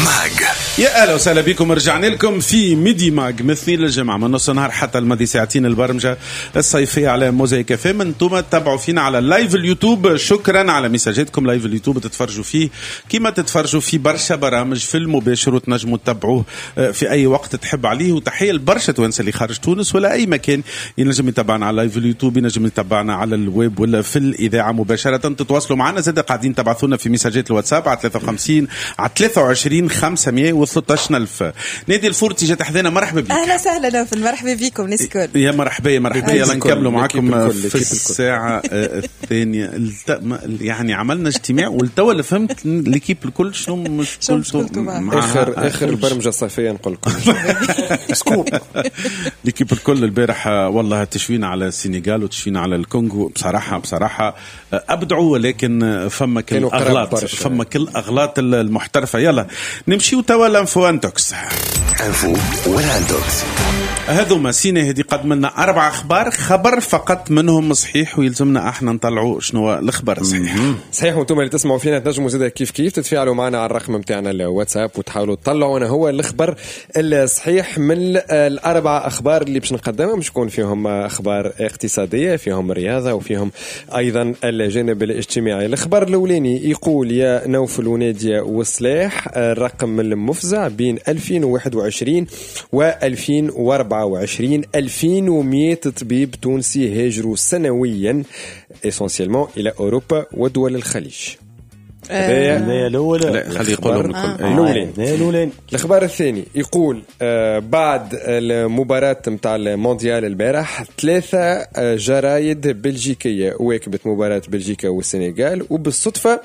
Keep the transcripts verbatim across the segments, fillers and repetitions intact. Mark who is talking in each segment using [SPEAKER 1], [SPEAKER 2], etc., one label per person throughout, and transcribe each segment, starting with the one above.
[SPEAKER 1] Mag.
[SPEAKER 2] يا اهلا وسهلا بكم، رجعنا لكم في Midi Mag من اثنين للجمعة من نص النهار حتى الماضي ساعتين، البرمجة الصيفية على موزايك اف ام. انتم تتابعوا فينا على live اليوتيوب، شكرا على ميساجاتكم. live اليوتيوب تتفرجوا فيه كما تتفرجوا في برشا برامج في المباشر، وتنجموا تتابعوه في اي وقت تحب عليه. وتحية لبرشا توانسة اللي خارج تونس ولا اي مكان ينجم يتابعنا على live اليوتيوب، ينجم يتابعنا على الويب ولا في الاذاعة مباشرة. تتواصلوا معنا زاد، قاعدين تبعثونا في ميساجات الواتساب على ثلاثة وخمسين على ثلاثة وعشرين خمسمية وثلاثطاش ألف. نادي الفورتي جات حذانا، مرحبا بك.
[SPEAKER 3] اهلا وسهلا نوفل، مرحبا بكم الناس الكل.
[SPEAKER 2] يا مرحبا يا مرحبا. يلا نكملوا معكم في الساعة الثانية. يعني عملنا اجتماع والتوا اللي فهمت l'équipe الكل شنو مشكلته.
[SPEAKER 4] اخر اخر البرمجة الصيفية نقول لكم
[SPEAKER 2] scoop. l'équipe الكل البارح والله تشوينا على السنغال وتشوينا على الكونغو، بصراحة بصراحة ابدعوا، ولكن فما كل اغلاط، فما كل اغلاط المحترفه. يلا نمشيو توا l'info intox.
[SPEAKER 1] info ولا intox.
[SPEAKER 2] هذوما سينا هذه قدم لنا أربع أخبار، خبر فقط منهم صحيح ويلزمنا احنا نطلعوا شنو الخبر الصحيح.
[SPEAKER 4] صحيح، وانتم اللي تسمعوا فينا تنجموا زاد كيف كيف تتفاعلوا معنا على الرقم نتاعنا الواتساب وتحاولوا تطلعوا انا هو الخبر الصحيح من الأربع أخبار اللي باش نقدمهم. باش يكون فيهم أخبار اقتصادية، فيهم رياضة، وفيهم أيضا الجانب الاجتماعي. الخبر الأولاني يقول يا نوفل ونادية وصلاح، الرقم المفزع بين ألفين وواحد وعشرين و ألفين وأربعة وعشرين ألفين ومئة طبيب تونسي هاجروا سنويا essentiellement الى اوروبا ودول الخليج.
[SPEAKER 5] هذا الاول.
[SPEAKER 2] لا خلي يقولهم الكل.
[SPEAKER 5] الاولين.
[SPEAKER 4] الخبر الثاني يقول آه بعد المباراة نتاع المونديال البارح ثلاثة جرايد بلجيكية واكبت مباراة بلجيكا والسنغال، وبالصدفة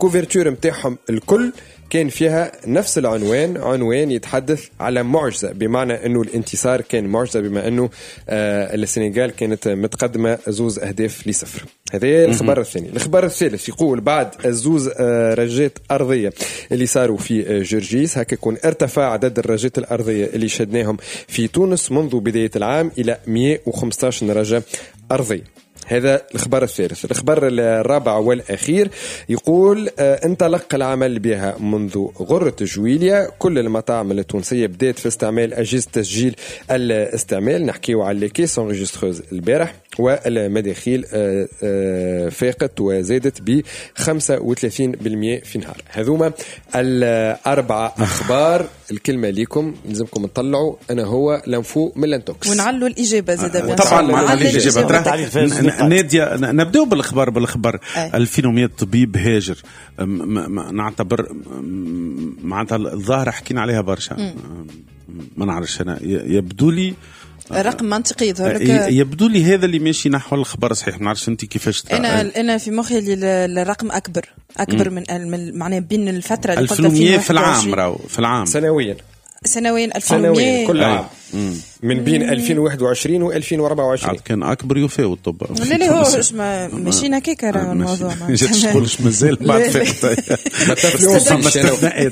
[SPEAKER 4] ال couverture نتاعهم الكل كان فيها نفس العنوان، عنوان يتحدث على معجزة، بمعنى أنه الانتصار كان معجزة، بما أنه آه السنغال كانت متقدمة زوز أهداف لصفر. هذا الخبر الثاني. الخبر الثالث يقول بعد الزوز آه رجات أرضية اللي صاروا في جرجيس، هكا يكون ارتفع عدد الرجات الأرضية اللي شهدناهم في تونس منذ بداية العام إلى مئة وخمسة عشر رجة أرضية. هذا الخبر الثالث. الخبر الرابع والأخير يقول انطلق العمل بها منذ غرة جويليا، كل المطاعم التونسية بدأت في استعمال أجهزة تسجيل الاستعمال، نحكيو على les caisses enregistreuses البارح، والمداخيل فاقت وزادت ب خمسة وثلاثين بالمئة في نهار. هذوما الأربع أخبار. الكلمة ليكم، لازمكم تطلعوا أنا هو l'info من l'intox
[SPEAKER 3] ونعلوا الإجابة زاد.
[SPEAKER 2] طبعا مع الإجابة نادية. نبدأ بالخبر بالخبر ألفين ومئة طبيب هاجر، نعتبر معناتها الظاهرة حكينا عليها برشا، ما نعرفش أنا، يبدو لي
[SPEAKER 3] رقم منطقي يظهر لك،
[SPEAKER 2] يبدو لي هذا اللي ماشي نحو الخبر صحيح. ما نعرفش انت كيفاش.
[SPEAKER 3] انا انا في مخي الرقم اكبر اكبر من, من معناه بين الفترة اللي
[SPEAKER 2] قلت فيها في العام، راهو في العام
[SPEAKER 4] سنويا
[SPEAKER 3] سنويا ألفين ومئة
[SPEAKER 4] كل عام من بين ألفين وواحد وعشرين و ألفين وأربعة وعشرين.
[SPEAKER 2] كان اكبر يفاوت الطب.
[SPEAKER 3] لا لا هو ماشيين هكاك راه الموضوع.
[SPEAKER 2] ما تقولش مازال بعد فقط.
[SPEAKER 4] ما تفلونسيش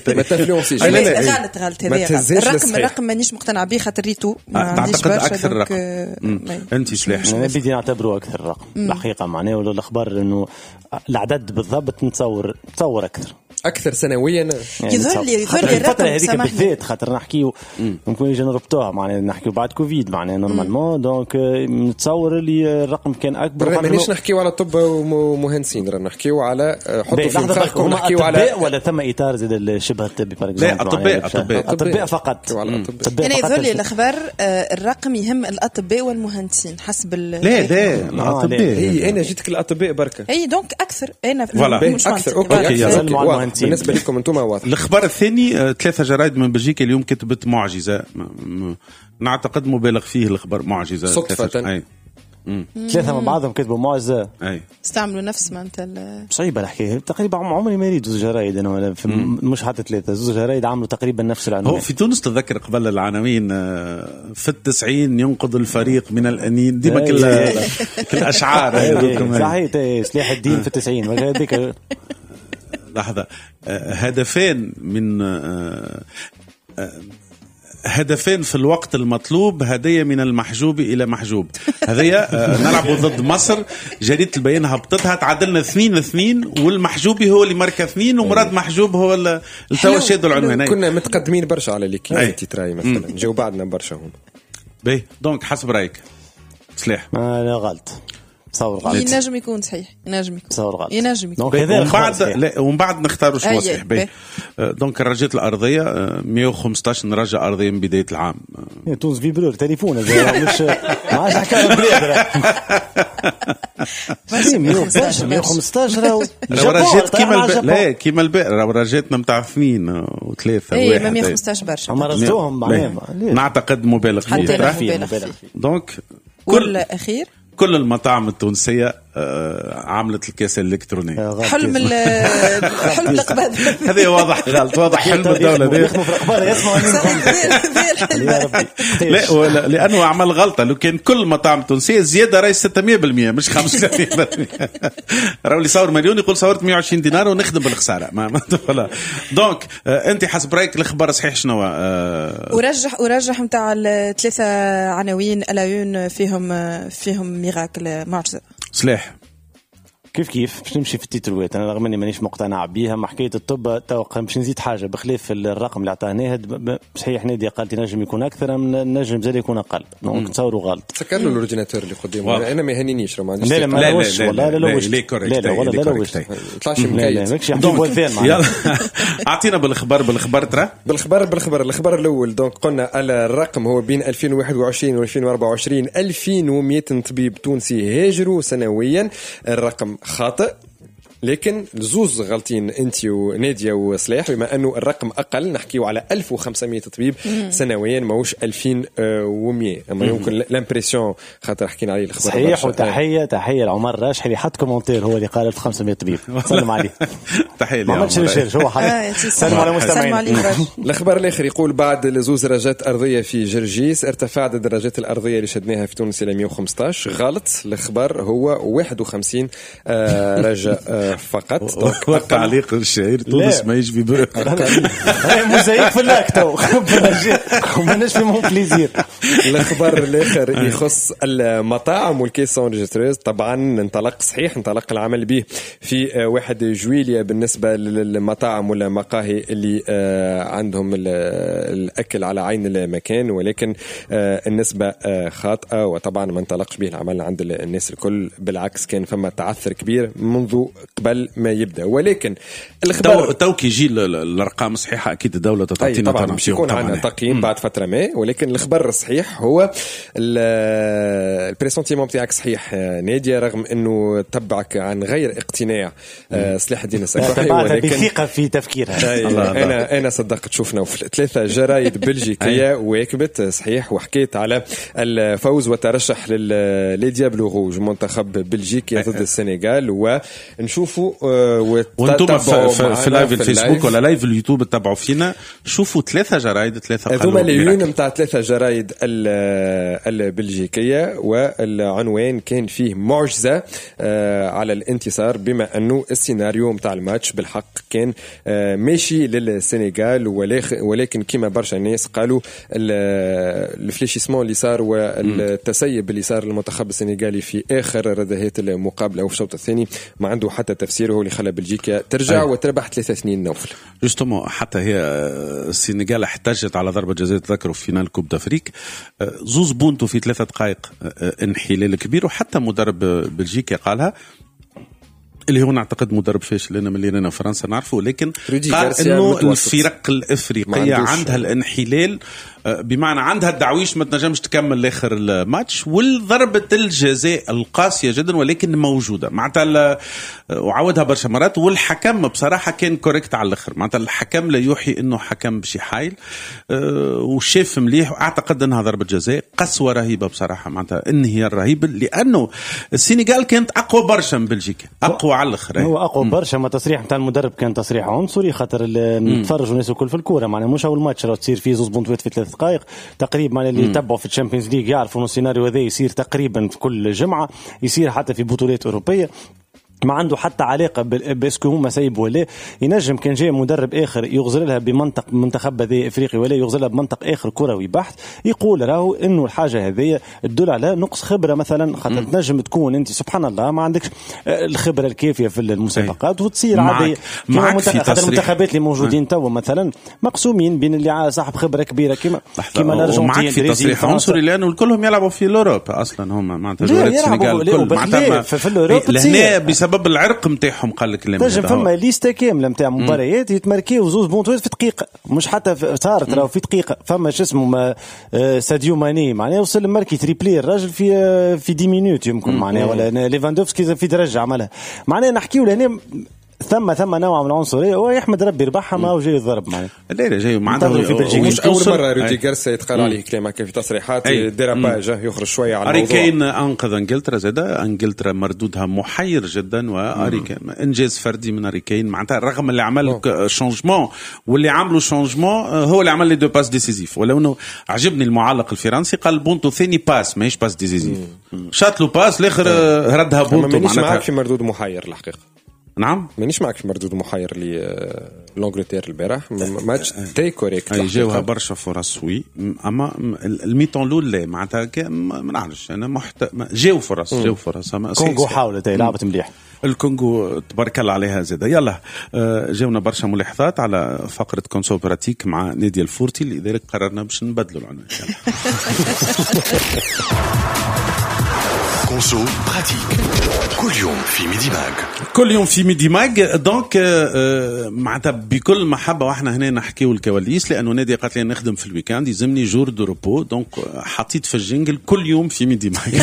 [SPEAKER 4] ما تفلونسيش.
[SPEAKER 3] غلط غلط هذا الرقم، الرقم مانيش مقتنع به خاطر ريتو
[SPEAKER 2] اعتقد اكثر رقم. انت سلاح
[SPEAKER 5] انا بدي نعتبره اكثر رقم الحقيقة، معناه ولا الاخبار انه العدد بالضبط نتصور نتصور اكثر
[SPEAKER 4] اكثر سنويا.
[SPEAKER 3] يظهر لي يظهر لي
[SPEAKER 5] الفترة هذيك بالذات خاطر نحكيو ممكن يجي نربطوها معناها نحكيو بعد كوفيد معناها normalement، donc نتصور اللي الرقم كان اكبر.
[SPEAKER 4] مانيش نحكيو على الطب ومهندسين، راه نحكيو على حطوا في مخكم نحكيو على
[SPEAKER 5] ولا ثم اطار زاد الشبه الطبي par exemple.
[SPEAKER 2] لا اطباء اطباء
[SPEAKER 5] اطباء فقط.
[SPEAKER 3] انا يظهر لي الاخبار الرقم يهم الاطباء والمهندسين حسب.
[SPEAKER 2] لا لا الاطباء،
[SPEAKER 4] هي انا جيتك الاطباء بركة،
[SPEAKER 3] اي donc اكثر. انا
[SPEAKER 4] اكثر okay بالنسبة لكم انتم واضح.
[SPEAKER 2] الخبر الثاني ثلاثة جرايد من بلجيكا اليوم كتبت معجزه، نعتقد مبالغ فيه الخبر، معجزه
[SPEAKER 4] صدفة.
[SPEAKER 5] ثلاثة من بعضهم كتبوا معجزه،
[SPEAKER 2] اي
[SPEAKER 3] استعملوا نفس ما انت.
[SPEAKER 5] صعيبة الحكاية تقريبا، عمري ما ريت زوج جرايد انا ولا مش حتى ثلاثة، زوج جرايد عملوا تقريبا نفس العنوان.
[SPEAKER 2] هو في تونس تذكر قبل العناوين في التسعين ينقذ الفريق من الانين، ديما كل كل اشعار
[SPEAKER 5] هذوك. صحيح سلاح الدين في التسعين هذيك.
[SPEAKER 2] لحظة، هدفين من هدفين في الوقت المطلوب، هدية من المحجوب إلى محجوب. هذيا نلعب ضد مصر، جريدة البيان هبطتها، تعادلنا اثنين اثنين، والمحجوبي هو اللي مركز اثنين، ومراد محجوب هو اللي توا شادوا العنوان.
[SPEAKER 4] كنا متقدمين برشا على l'équipe تيتراي مثلا، جاو بعدنا برشا هم.
[SPEAKER 2] باهي donc حسب رأيك سلاح؟
[SPEAKER 5] لا غلط، تصور غلط.
[SPEAKER 3] ينجم يكون صحيح، ينجم يكون
[SPEAKER 5] تصور غلط،
[SPEAKER 3] ينجم يكون.
[SPEAKER 2] ومن بعد لا، ومن بعد نختاروا شنو صحيح. باهي donc الرجات الارضية مية وخمسطاش رجه ارضية من بداية العام.
[SPEAKER 5] تونس vibreur تليفون مش ما عادش حكاية البلاد. مية وخمسطاش راهو
[SPEAKER 2] رجات كيما الب... لا كيما البارح راهو رجاتنا نتاع اثنين وثلاثة
[SPEAKER 3] واحد. اي مية وخمسطاش برشا،
[SPEAKER 5] اما رصدوهم معناها
[SPEAKER 2] نعتقد مبالغ فيه. donc
[SPEAKER 3] كل اخير
[SPEAKER 2] كل المطاعم التونسية عملت الكاسة الإلكترونية.
[SPEAKER 3] حلم حلم الأقبال.
[SPEAKER 2] هذا واضح غلط، واضح حلم الدولة ذي. لا لأنه عمل غلطة، لو كان كل المطاعم التونسية زيادة راهي ستمية بالمية مش خمسة بالمية. راهو اللي صور مليون يقول صورت مية وعشرين دينار ونخدم بالخسارة. ما ولا. donc أنت حسب رأيك الخبر صحيح شنو؟
[SPEAKER 3] ورجح ورجح متاع الثلاثة عناوين à la une فيهم فيهم miracle معجزة.
[SPEAKER 2] سلاح
[SPEAKER 5] كيف كيف باش نمشي في التيتروات، انا رغم اني مانيش مقتنع بيها. ما حكاية الطب تو باش نزيد حاجة بخلاف الرقم اللي عطاه ناهد، صحيح نادي قالت نجم يكون اكثر، نجم زاد يكون اقل، donc تصوروا غلط.
[SPEAKER 4] سكر له ال ordinateur اللي قدامه، انا ما يهنينيش ما عنديش.
[SPEAKER 5] لا لا لا لا لا لا لا ولا لا
[SPEAKER 4] طلعش مكيت.
[SPEAKER 2] يلا اعطينا بالخبر بالخبر ترى
[SPEAKER 4] بالخبر بالخبر الخبر الاول. donc قلنا الرقم هو بين ألفين وواحد وعشرين و ألفين وأربعة وعشرين ألفين ومئة طبيب تونسي هاجروا سنويا. الرقم خاطئ، لكن زوز غلطين انت وناديه وصلاح، بما انه الرقم اقل نحكيو على ألف وخمسمية طبيب سنويا ماهوش ألفين ومية. اما يمكن l'impression خاطر حكينا عليه الخبر
[SPEAKER 5] صحيح. وتحية تحية لعمر راشح اللي حط commentaire، هو اللي قال ألف وخمسمية طبيب، سلم عليه.
[SPEAKER 2] تحية
[SPEAKER 5] ما عملتش recherche هو حط. سلم على المستمعين.
[SPEAKER 4] الخبر الاخر يقول بعد زوز درجات ارضية في جرجيس ارتفع عدد الدرجات الارضية اللي شدناها في تونس الى مية وخمسطاش. غلط، الخبر هو واحد وخمسين رجاء فقط.
[SPEAKER 2] تعليق الشهير تونس ما يجي vibreur.
[SPEAKER 5] موزايك في اللاك تو ماناش في مونبليزير.
[SPEAKER 4] الخبر الاخر يخص المطاعم وال caisse enregistreuse. طبعا انطلق صحيح، انطلق العمل به في واحد جويلية بالنسبة للمطاعم ولا مقاهي اللي عندهم الاكل على عين المكان، ولكن النسبة خاطئه، وطبعا ما انطلقش به العمل عند الناس الكل، بالعكس كان فما تعثر كبير منذ قبل ما يبدا. ولكن الخبر
[SPEAKER 2] تو كي يجي الارقام الصحيحة اكيد الدولة تعطينا
[SPEAKER 4] طبعا باش يكون عندنا تقييم بعد فترة ما، ولكن الخبر الصحيح هو ال pressentiment بتاعك صحيح ناديه، رغم انه تبعك عن غير اقتناع سلاح الدين السكوحي،
[SPEAKER 5] ولكن بثقة في تفكيرها.
[SPEAKER 4] انا انا صدقت. شفنا في ثلاثة جرايد بلجيكيه واكبت صحيح، وحكيت على الفوز وترشح les Diables Rouges منتخب بلجيكا ضد السنغال. ونشوفوا
[SPEAKER 2] وانتم في, في, في live الفيسبوك ولا live اليوتيوب تتبعوا فينا، شوفوا ثلاثة جرايد، ثلاثة
[SPEAKER 4] هذوما les unes نتاع ثلاثة جرايد البلجيكيه، والعنوان كان فيه معجزه على الانتصار، بما انه السيناريو نتاع الماتش بالحق كان ماشي للسنغال، ولكن كما برشا ناس قالوا ال fléchissement اللي صار والتسيب اللي صار للمنتخب السنغالي في اخر ردهات المقابلة وفي الشوط الثاني ما عنده حتى تفسير، هو اللي خلى بلجيكا ترجع أي. وتربح ثلاثة اثنين نوفل.
[SPEAKER 2] justement حتى هي السنغال احتجت على ضربه جزاء، تذكروا في finale Coupe d'Afrique زوز بونتو في ثلاثة دقائق، انحلال كبير. وحتى مدرب بلجيكا قالها، اللي هو نعتقد مدرب فاشل لنا من اللي فرنسا نعرفه، لكن قال انه الفرق الافريقية عندها الانحلال، بمعنى عندها الدعويش ما تنجمش تكمل لاخر الماتش، والضربه الجزاء القاسية جدا ولكن موجودة معناتها، وعاودها برشا مرات. والحكم بصراحة كان correct على الاخر، معناتها الحكم لا يوحي انه حكم بشي حايل، وشاف مليح، واعتقد انها ضربه جزاء قسوة رهيبة بصراحة، معناتها انهيار رهيب، لانه السنغال كانت اقوى برشا من بلجيكا، اقوى على الاخر.
[SPEAKER 5] هو اقوى برشا. ما تصريح نتاع المدرب كان تصريح عنصري، خاطر نتفرجوا الناس الكل في الكورة، معناها مش اول ماتش راه تصير فيه زوز بونتوات في ثلاث دقائق تقريبا. اللي يتبعوا في ال Champions League يعرفوا انه السيناريو هذا يصير تقريبا في كل جمعه، يصير حتى في بطولات اوروبية. ما عنده حتى علاقة parce que هما سايبوا ولا ينجم كان جاي مدرب اخر يغزر لها بمنطق منتخب هذا افريقي ولا يغزر لها بمنطق اخر كروي بحت، يقول راهو انه الحاجة هذه تدل على نقص خبره مثلا، خاطر تنجم تكون انت سبحان الله ما عندكش الخبرة الكافيه في المسابقات وتصير عادي.
[SPEAKER 2] معك في
[SPEAKER 5] تصريح المنتخبات اللي موجودين توا مثلا مقسومين بين اللي صاحب خبره كبيرة كيما كيما الارجنتين،
[SPEAKER 2] معك في تصريح عنصري لانه كلهم يلعبوا في l'Europe اصلا، هما معناتها جوارات السنغال الكل معناتها
[SPEAKER 5] في l'Europe
[SPEAKER 2] بسبب العرق نتاعهم. قال لك
[SPEAKER 5] تنجم فما liste كاملة نتاع مباريات يتماركيو زوز بونتوات في دقيقة، مش حتى صارت راهو في دقيقة. فما شو اسمه ساديو ماني معناها وصل ماركي triplé الراجل في في dix minutes يمكن معناها، ولا ليفاندوفسكي في درجه عملها معناها. نحكيو لهنا ثم ثم نوع من العنصرية، ويحمد ربي ربحها ما هو جاي الضرب معناها.
[SPEAKER 2] لا لا جاي معناتها
[SPEAKER 4] في بلجيكا مش اول مرة رودي غارسيا يتقال عليه كلام هكا في تصريحات dérapage يخرج شوية على الموضوع.
[SPEAKER 2] هاري كين انقذ انجلترا زاده، انجلترا مردودها محير جدا، وهاري كين انجاز فردي من هاري كين معناتها رغم اللي عمل changement واللي عملوا changement هو اللي عمل les deux passes décisives. ولو انه عجبني المعلق الفرنسي قال بونتو ثاني passe ماهيش passe décisive، شاط له passe الاخر ردها بونتو.
[SPEAKER 4] مانيش معاك في مردود محير الحقيقة.
[SPEAKER 2] نعم
[SPEAKER 4] مانيش معك في مردود محير لي l'Angleterre البارح، match très correct،
[SPEAKER 2] جاوها برشا فرص oui، اما ال mi-temps الاول لا معناتها ما نعرفش انا محت... جاو فرص جاو فرص.
[SPEAKER 5] اما كونغو حاولت لعبت مليح،
[SPEAKER 2] الكونغو تبارك الله عليها زاده. يلا جاونا برشا ملاحظات على فقره conso pratique مع نادي الفورتي، لذلك قررنا باش نبدلوا العنوان.
[SPEAKER 1] conso pratique كل يوم في ميدي ماج،
[SPEAKER 2] كل يوم في ميدي ماج. donc معناتها بكل محبة واحنا هنا نحكيو الكواليس، لانه نادي قالت لي نخدم في ال week-end يلزمني jour de repos، donc حطيت في ال jingle كل يوم في ميدي ماج.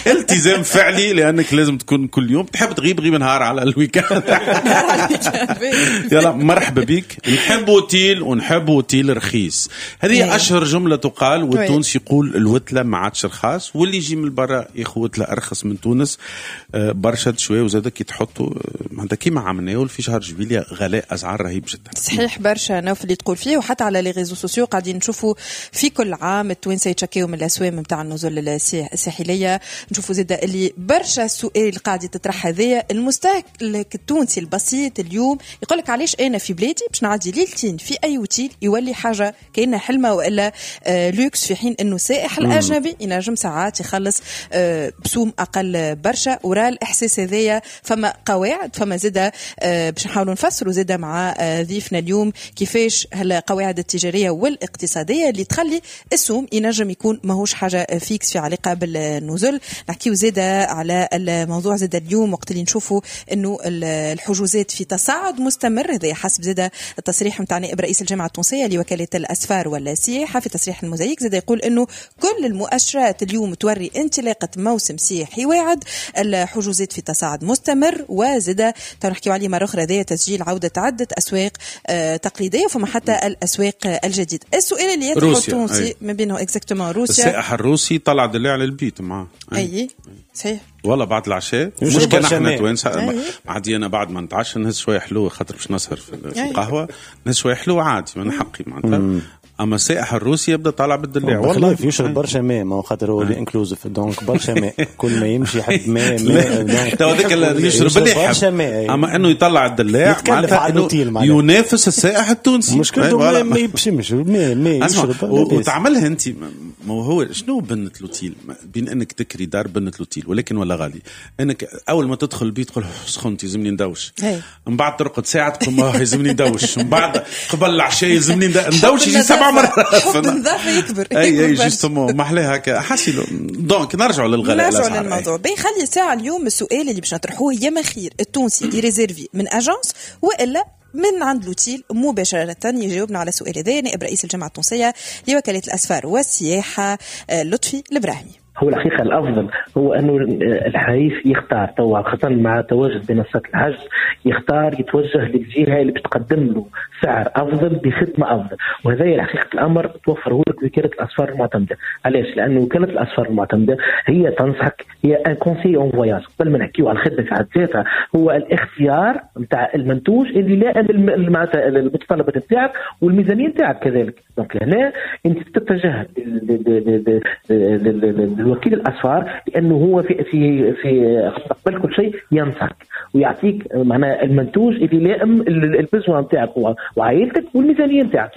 [SPEAKER 2] التزام فعلي، لانك لازم تكون كل يوم، تحب تغيب غيب نهار على ال week-end. يلا مرحبا بك. نحب اوتيل ونحب اوتيل رخيص، هذه اشهر جملة تقال، والتونسي يقول الوتله ما عادش رخاص، واللي يجي من برا ياخذ وتله ارخص من تونس برشا شوية. وزاد كي تحطوا معناتها كيما عملناه في شهر جويلية غلاء اسعار رهيب جدا.
[SPEAKER 3] صحيح برشا نوف اللي تقول فيه، وحتى على les réseaux sociaux قاعدين نشوفوا في كل عام التوانسة يتشكيو من الاسوام نتاع النزل الساحلية. نشوفوا زاد اللي برشا سؤال قاعد يتطرح هذايا، المستهلك التونسي البسيط اليوم يقول لك علاش انا في بلادي باش نعدي ليلتين في اي اوتيل يولي حاجة كأنها حلمه والا لوكس، في حين انه سائح الاجنبي ينجم ساعات يخلص بسوم اقل برشا. وراء الاحساس هذايا فما قواعد، فما زاده باش نحاولوا نفسروا زاده مع ضيفنا اليوم كيفاش هالقواعد التجارية والاقتصادية اللي تخلي السوم ينجم يكون ماهوش حاجة fixe في علاقة بالنزل. نحكيو زاده على الموضوع زاده اليوم وقت اللي نشوفوا انه الحجوزات في تصاعد مستمر، هذا حسب زاده التصريح نتاع نائب رئيس الجامعة التونسية لوكالة الاسفار والسياحة في تصريح الموزايك، زاده يقول انه كل المؤشرات اليوم توري انطلاقة موسم سياحي واعد، الحجوزات في تصاعد مستمر، وزاد نحكيو عليه مرة اخرى ذا تسجيل عوده عده اسواق تقليدية وفما حتى الاسواق الجديدة. السؤال اللي يطرحه التونسي ما بينه exactement روسيا،
[SPEAKER 2] السائح الروسي طلع دلع على البيت معاه.
[SPEAKER 3] اي صحيح
[SPEAKER 2] والله بعد العشاء، مش كان احنا توانسة عادي، انا بعد ما نتعشى نهز شوية حلو خاطر باش نسهر في القهوة، نهز شوية حلو عادي من حقي معناتها. اما السائح الروسي يبدا طالع بالدلع
[SPEAKER 5] والله يشرب برشا ماء، ما هو خاطر هو inclusif donc برشا ماء، كل ما يمشي يحب ماء ماء.
[SPEAKER 2] تو هذاك اللي يشرب اللي يحب، اما انه يطلع الدلاع معناتها ينافس السائح التونسي.
[SPEAKER 5] مشكلته ما يبشمش ماء ماء يشرب.
[SPEAKER 2] وتعملها انت، ما هو شنو بنة l'hôtel؟ بين انك تكري دار بنة l'hôtel ولكن ولا غالي، انك اول ما تدخل البيت تقول سخنت يلزمني ندوش، من بعد ترقد ساعة تقول يلزمني ندوش، من بعد قبل العشاء يلزمني ندوش يجي سبع مرات.
[SPEAKER 3] حب النظافة يكبر.
[SPEAKER 2] اي اي justement ما احلاها هكا حاسيلو. donc نرجعوا للغلاء،
[SPEAKER 3] نرجعوا للموضوع. بيخلي ساعة اليوم السؤال اللي باش نطرحوه، يا ما خير التونسي يريزيرفي من agence والا من عند l'hôtel مباشرة؟ يجاوبنا على سؤال هذا نائب رئيس الجامعة التونسية لوكالة الأسفار والسياحة لطفي الإبراهيمي.
[SPEAKER 6] هو الحقيقة الأفضل هو أنه الحريف يختار توا، خاصة مع تواجد منصات الحجز، يختار يتوجه للجهة اللي بتقدم له سعر أفضل بخدمة أفضل، وهذا الحقيقة الأمر توفره لك وكالة الأسفار المعتمدة. علاش؟ لأنه وكالة الأسفار المعتمدة هي تنصحك، هي un conseiller en voyage. قبل ما نحكيو على الخدمة في حد ذاتها، هو الاختيار نتاع المنتوج اللي لا معناتها المتطلبات نتاعك والميزانية نتاعك كذلك. donc هنا أنت تتجه الوكيل الاسفار، لانه هو في في في قبل كل شيء ينصحك ويعطيك معناها المنتوج اللي يلائم ال besoin نتاعك وعائلتك والميزانيه نتاعك.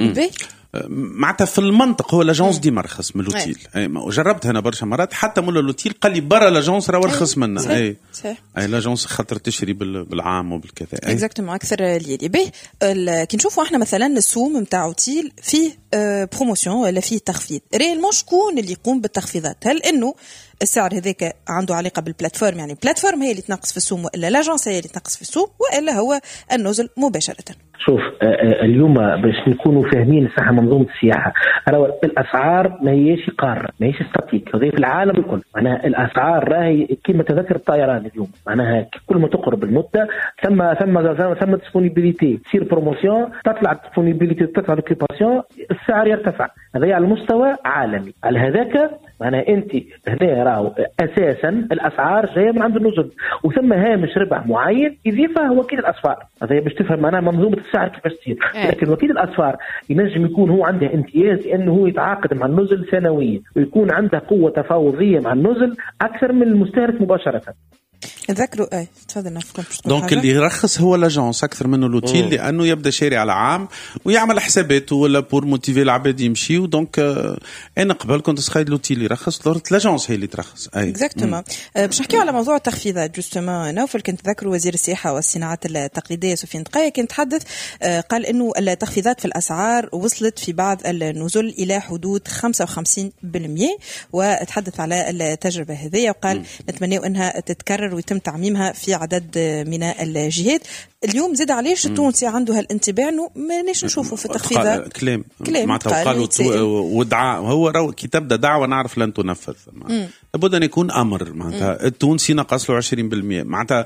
[SPEAKER 2] معناتها في المنطق هو l'agence ديما ارخص من l'hôtel. جربت انا برشا مرات، حتى مول l'hôtel قال لي برا l'agence راه ارخص منا. اي صحيح، اي l'agence خاطر تشري بالعام وبالكذا.
[SPEAKER 3] exactement اكثر ليلي به. كي نشوفوا احنا مثلا السوم نتاع اوتيل فيه promotion ولا فيه تخفيض، réellement شكون اللي يقوم بالتخفيضات؟ هل انه السعر هذاك عنده علاقة بال plateforme، يعني ال plateforme هي اللي تنقص في السوم، والا l'agence هي اللي تنقص في السوم، والا هو النزل مباشرة؟
[SPEAKER 6] شوف اليوم باش نكونوا فاهمين صح منظومة السياحة، راهو الاسعار ما هيش قارة، ما هيش statique، هذه في العالم الكل. معناها الاسعار راهي كما تذكر الطيران اليوم، معناها كل ما تقرب المدة ثم ثم ثم disponibilité، تصير promotion، تطلع disponibilité، تطلع l'occupation، السعر يرتفع. هذا على مستوى عالمي. على هذاك معناها انت هنا راهو اساسا الاسعار جاية من عند النزل، وثم هامش ربح معين يضيفه وكيل الاسفار. هذا باش تفهم معناها منظومة السعر كيفاش تصير. لكن وكيل الاسفار ينجم يكون هو عنده امتياز لانه هو يتعاقد مع النزل سنويا، ويكون عنده قوة تفاوضيه مع النزل اكثر من المستهلك مباشرة.
[SPEAKER 3] نذكروا اي تفضل.
[SPEAKER 2] donc اللي يرخص هو l'agence اكثر منه l'hôtel، لانه يبدا شاري على عام ويعمل حساباته ولا pour motiver العباد يمشيو. donc انا قبل كنت تخيل l'hôtel يرخص، ظهرت l'agence هي اللي ترخص.
[SPEAKER 3] اي exactement. باش نحكيو على موضوع التخفيضات justement، نوفل كنت تذكروا وزير السياحة والصناعات التقليدية سفيان دقايه كان تحدث، قال انه التخفيضات في الاسعار وصلت في بعض النزل الى حدود خمسة وخمسين بالمئة، وتحدث على التجربة هذه وقال نتمنى انها تتكرر ويتم تعميمها في عدد من الجهات. اليوم زاد علاش التونسي عنده هالانتباه انه ماناش نشوفوا في التخفيضات؟
[SPEAKER 2] كلام كلام معناتها قالوا ودعاء، هو رو كي تبدا دعوه نعرف لن تنفذ، لابد ان يكون امر. معناتها التونسي نقص له عشرين بالمئة، معناتها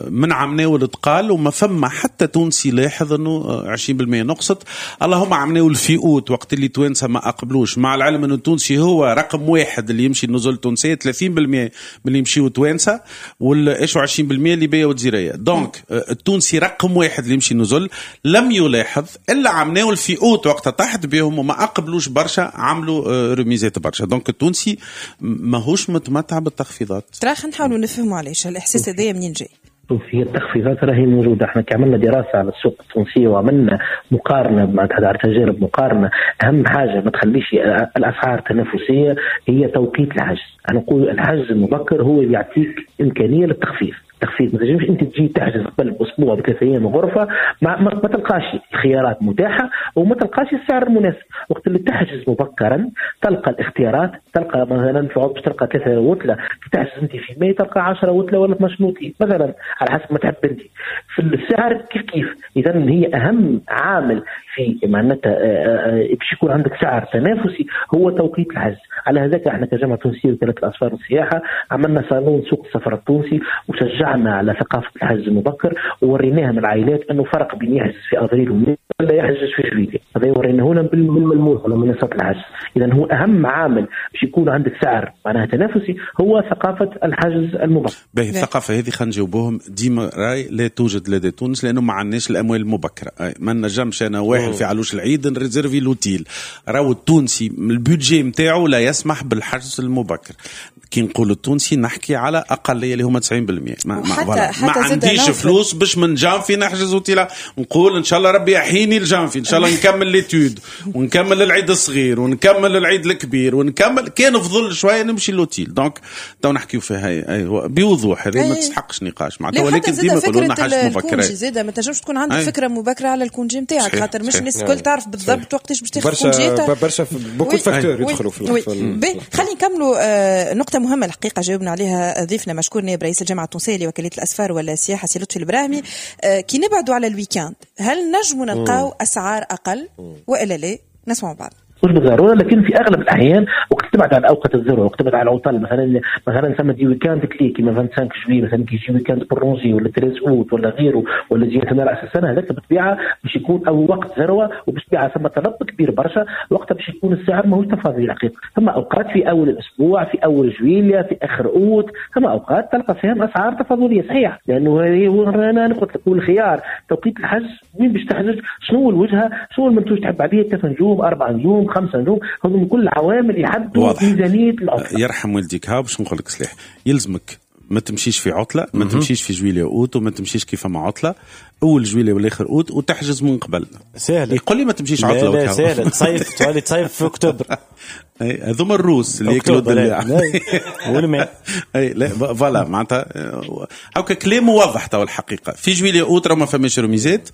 [SPEAKER 2] من عمناول تقال وما فما حتى تونسي لاحظ انه عشرين بالمئة نقصت. اللهم عمناول في اوت وقت اللي توانسة ما اقبلوش، مع العلم انه التونسي هو رقم واحد اللي يمشي النزل التونسية، ثلاثين بالمئة من اللي يمشيو توانسة، وال عشرين بالمئة اللي وجزيريه. donc التونسي رقم واحد اللي يمشي النزل لم يلاحظ الا عمناول في اوت وقت طاحت بهم وما اقبلوش برشا، عملوا رميزات برشا. donc التونسي ماهوش متمتع بالتخفيضات.
[SPEAKER 3] ترى خلينا نحاولوا نفهموا علاش الاحساس هذايا منين جاي.
[SPEAKER 6] شوف هي التخفيضات راهي موجودة، احنا عملنا دراسة على السوق التونسية وعملنا مقارنة مع تجارب مقارنة. اهم حاجة ما تخليش الاسعار تنافسية هي توقيت الحجز. انا نقول الحجز المبكر هو اللي يعطيك امكانية للتخفيض. تخفيض ما تنجمش انت تجي تحجز قبل باسبوع بثلاث ايام غرفة ما, ما, ما تلقاش الخيارات متاحة وما تلقاش السعر المناسب. وقت اللي تحجز مبكرا تلقى الاختيارات، تلقى مثلا في عوض تلقى ثلاثة وتله تحجز انت في ماي تلقى عشرة وتله ولا اثناش وتله مثلا على حسب ما تحب انت. في السعر كيف كيف. اذا هي اهم عامل في معناتها باش يكون عندك سعر تنافسي هو توقيت الحجز. على هذاك احنا كجامعه تونسية وكالة الاسفار والسياحة عملنا صالون سوق السفر التونسي وشجعنا على ثقافة الحجز المبكر ووريناها من العائلات انه فرق بين يحجز في افريل وماي ولا يحجز في جويلية. هذا وريناه لهم بالملموس على منصات الحجز. اذا هو اهم عامل باش يكون عندك سعر معناها تنافسي هو ثقافة الحجز المبكر.
[SPEAKER 2] باهي الثقافة هذه خلينا نجاوبوهم ديما راي لا توجد لدى تونس لانه ما عندناش الاموال المبكرة. ما نجمش انا واحد في علوش العيد نريزيرفي l'hôtel. راهو التونسي ال budget نتاعو لا يسمح بالحجز المبكر. كي نقول التونسي نحكي على اقلية اللي هما تسعين بالمئة. ما, ما, حتى ما عنديش فلوس باش من جانفي نحجز اوتيل. نقول ان شاء الله ربي يحييني الجانفي، ان شاء الله نكمل les études ونكمل العيد الصغير ونكمل العيد الكبير ونكمل كان فضل شوية نمشي l'hôtel. donc تو نحكيو فيها هي بوضوح، هذه ما تستحقش نقاش معناتها. ولكن ديما يقولوا لنا حاجة مبكرة.
[SPEAKER 3] زاده ما تنجمش تكون عندك فكرة مبكرة على ال congé نتاعك، خاطر مش الناس الكل تعرف بالضبط وقتاش باش تاخذ congé.
[SPEAKER 4] برشا beaucoup facteurs يدخلوا في.
[SPEAKER 3] خلينا نكملوا نقطة مهمة الحقيقة جاوبنا عليها ضيفنا مشكور نائب رئيس الجامعة التونسية لوكالة الأسفار والسياحة سي لطفي البراهمي. كي نبعدوا على ال week-end هل نجموا نلقاو أسعار أقل وإلا لا؟ نسمع بعض.
[SPEAKER 6] مش بالضرورة، لكن في اغلب الاحيان وقت تبعد عن اوقات الذروة، وقت تبعد على العطل مثلا مثلا ثم des week-ends clés كيما خمسة وعشرين جويلية مثلا كي يجي week-end prolongé ولا ثلاثة اوت ولا غيره ولا يجي مثلا راس السنة، هذاك بالطبيعة باش يكون او وقت ذروة وبالطبيعه ثم طلب كبير برشا، وقتها باش يكون السعر ماهوش تفاضلي الحقيقة. ثم اوقات في اول الاسبوع، في اول جويلية، في اخر اوت، ثم اوقات تلقى فيهم اسعار تفاضليه صحيح، لانه هو انا قلت لك الخيار توقيت الحجز، وين باش تحجز، شنو الوجهة، شنو المنتوج تحب عليه، ثلاث نجوم، اربع نجوم، خمسة نجوم، هذم كل عوامل يحددوا ميزانية العطلة.
[SPEAKER 2] يرحم والديك، ها باش نقول لك سلاح، يلزمك ما تمشيش في عطله، ما تمشيش في جويلية اوت، وما تمشيش كيف ما عطله اول جويلية ولا اخر اوت، وتحجز من قبل.
[SPEAKER 5] سهل.
[SPEAKER 2] يقول لي ما تمشيش عطله.
[SPEAKER 5] لا سهل، تصيف تولي تصيف في اكتوبر.
[SPEAKER 2] اي هذوما الروس اللي ياكلوا الدلاع
[SPEAKER 5] والماء.
[SPEAKER 2] اي لا voilà معناتها هاكا كلام واضح تو الحقيقة. في جويلية اوت راه ما فماش رميزات،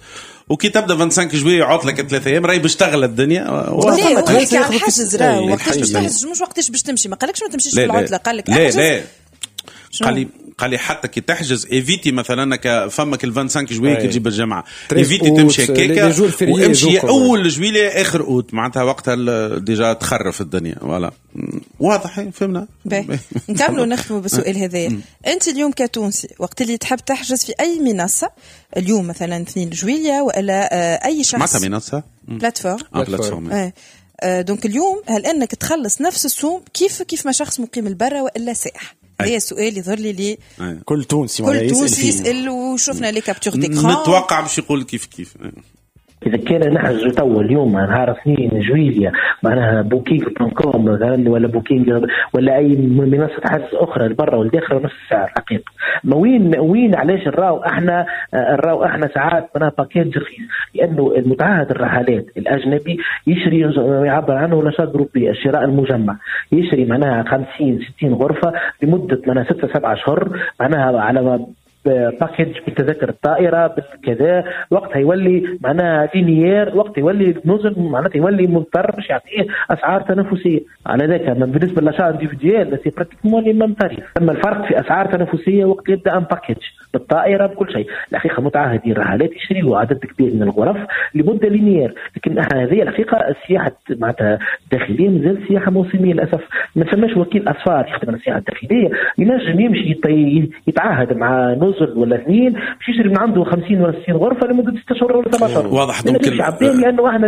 [SPEAKER 2] وكي تبدا خمسة وعشرين جويلية عطله ثلاثة ايام راهي باش تغلى الدنيا.
[SPEAKER 3] لا هو يحكي على الحجز، راه وقتاش باش تحجز مش وقتاش باش تمشي. ما قالكش ما تمشيش في العطلة، قال لك
[SPEAKER 2] لا لا قال لي قال لي حتى كي تحجز évitez مثلا فمك ال خمسة وعشرين جويلية كي تجيب الجامعة évitez تمشي هكاكا وامشي اول جويلية اخر اوت، معناتها وقتها déjà تخرف الدنيا. voilà واضح، فهمنا.
[SPEAKER 3] نكملوا نختموا بالسؤال هذايا. انت اليوم كتونسي وقت اللي تحب تحجز في اي منصة اليوم مثلا اثنين جويلية ولا اي شخص،
[SPEAKER 2] معناتها منصة
[SPEAKER 3] plateforme
[SPEAKER 2] plateforme،
[SPEAKER 3] donc اليوم هل انك تخلص نفس السوم كيف كيف ما شخص مقيم البرة والا سائح؟ هذا السؤال يظهر لي لي
[SPEAKER 5] كل تونسي
[SPEAKER 3] كل تونسي يسأل، وشفنا les captures d'écran.
[SPEAKER 2] نتوقع باش يقول كيف كيف.
[SPEAKER 6] إذا كان نحجز تو اليوم نهار اثنين جويلية معناها Booking dot com مثلا ولا Booking ولا أي منصة حجز أخرى لبرا والداخل نفس السعر حقيقة. ما وين وين علاش نراو احنا نراو احنا ساعات معناها package رخيص؟ لأنه المتعهد الرحلات الأجنبي يشري يعبر عنه l'achat groupé، الشراء المجمع، يشري معناها خمسين ستين غرفة لمدة معناها ستة سبعة أشهر معناها على package بالتذاكر الطائرة بالكذا، وقتها يولي معناها linéaire، وقت يولي نزل معناتها يولي مضطر باش يعطيه اسعار تنافسية. على ذاك بالنسبة ل l'achat individuel c'est pratiquement les mêmes tarifs. اما الفرق في اسعار تنافسية وقت يبدا un package بالطائرة بكل شيء. الحقيقة متعهدين الرحلات يشريوا عدد كبير من الغرف لمدة linéaire، لكن هذه الحقيقة السياحة معناتها الداخلية مازال سياحة موسميه للاسف. ما ثماش وكيل اسفار يخدم على السياحة الداخلية ينجم يمشي يتعاهد مع نزل ولا اثنين باش يشري من عنده خمسين ولا ستين غرفة لمدة ستة اشهر ولا سبعة اشهر.
[SPEAKER 2] واضح. donc
[SPEAKER 6] لانه احنا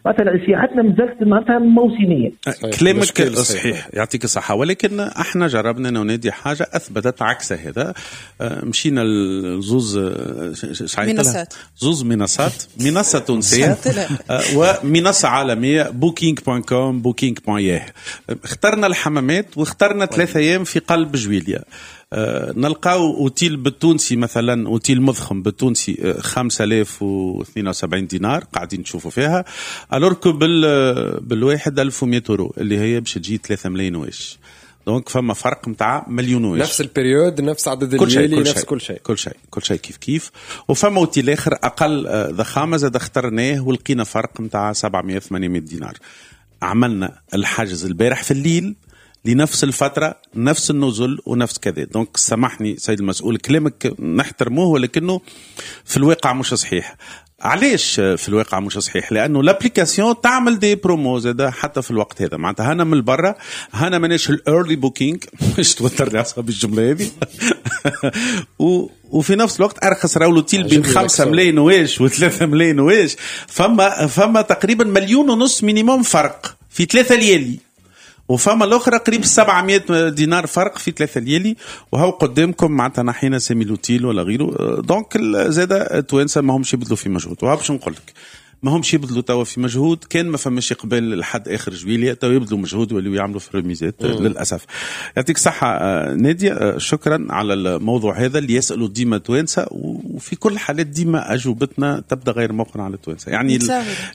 [SPEAKER 6] مثلا سياحتنا مازالت معناتها موسميه.
[SPEAKER 2] كلامك صحيح يعطيك الصحة، ولكن احنا جربنا ننادي حاجة اثبتت عكس هذا. مشينا لزوز
[SPEAKER 3] منصات،
[SPEAKER 2] زوز منصات، منصة تونسية ومنصة عالمية Booking point com، Booking point ياه. اخترنا الحمامات واخترنا ثلاثة ايام في قلب جويليا. أه نلقاو اوتيل بالتونسي مثلا، اوتيل مضخم بالتونسي خمسة آلاف واثنين وسبعين دينار قاعدين تشوفوا فيها، alors que بال بالواحد ألف ومئة اورو اللي هي باش تجي ثلاثة ملايين واش. donc فما فرق نتاع مليون واش،
[SPEAKER 4] نفس ال période، نفس عدد الليالي، نفس كل شيء،
[SPEAKER 2] كل شيء كل شيء كيف كيف. وفما اوتيل اخر اقل ضخامه زاد اخترناه ولقينا فرق نتاع سبعمية ثمانمية دينار. عملنا الحجز البارح في الليل لنفس الفترة، نفس النزل ونفس كذا. donc سامحني سيد المسؤول، كلامك نحترموه ولكنه في الواقع مش صحيح. علاش في الواقع مش صحيح؟ لانه l'application تعمل des promos زاد حتى في الوقت هذا. معناتها هنا من برا، هنا ماناش ال early booking، مش توتر لي اعصابي الجملة هذه. وفي نفس الوقت ارخص راهو لوتيل بين خمسة ملايين واش وثلاثة ملايين واش، فما فما تقريبا مليون ونص minimum فرق في ثلاثة ليالي، وفما الاخرى قريب سبعمية دينار فرق في ثلاثة ليالي، وهو قدامكم معناتها نحينا سامي لوتيل ولا غيره. donc زاد التوانسة ما همش يبذلوا في مجهود، وها باش نقول لك ما همش يبذلوا توا في مجهود. كان ما فماش قبل لحد اخر جويلية توا يبذلوا مجهود ولاو يعملوا في رميزات للاسف. يعطيك صحة ناديه، شكرا على الموضوع هذا اللي يسالوا ديما توانسة، وفي كل حالات ديما اجوبتنا تبدا غير مقنعة على التوانسة، يعني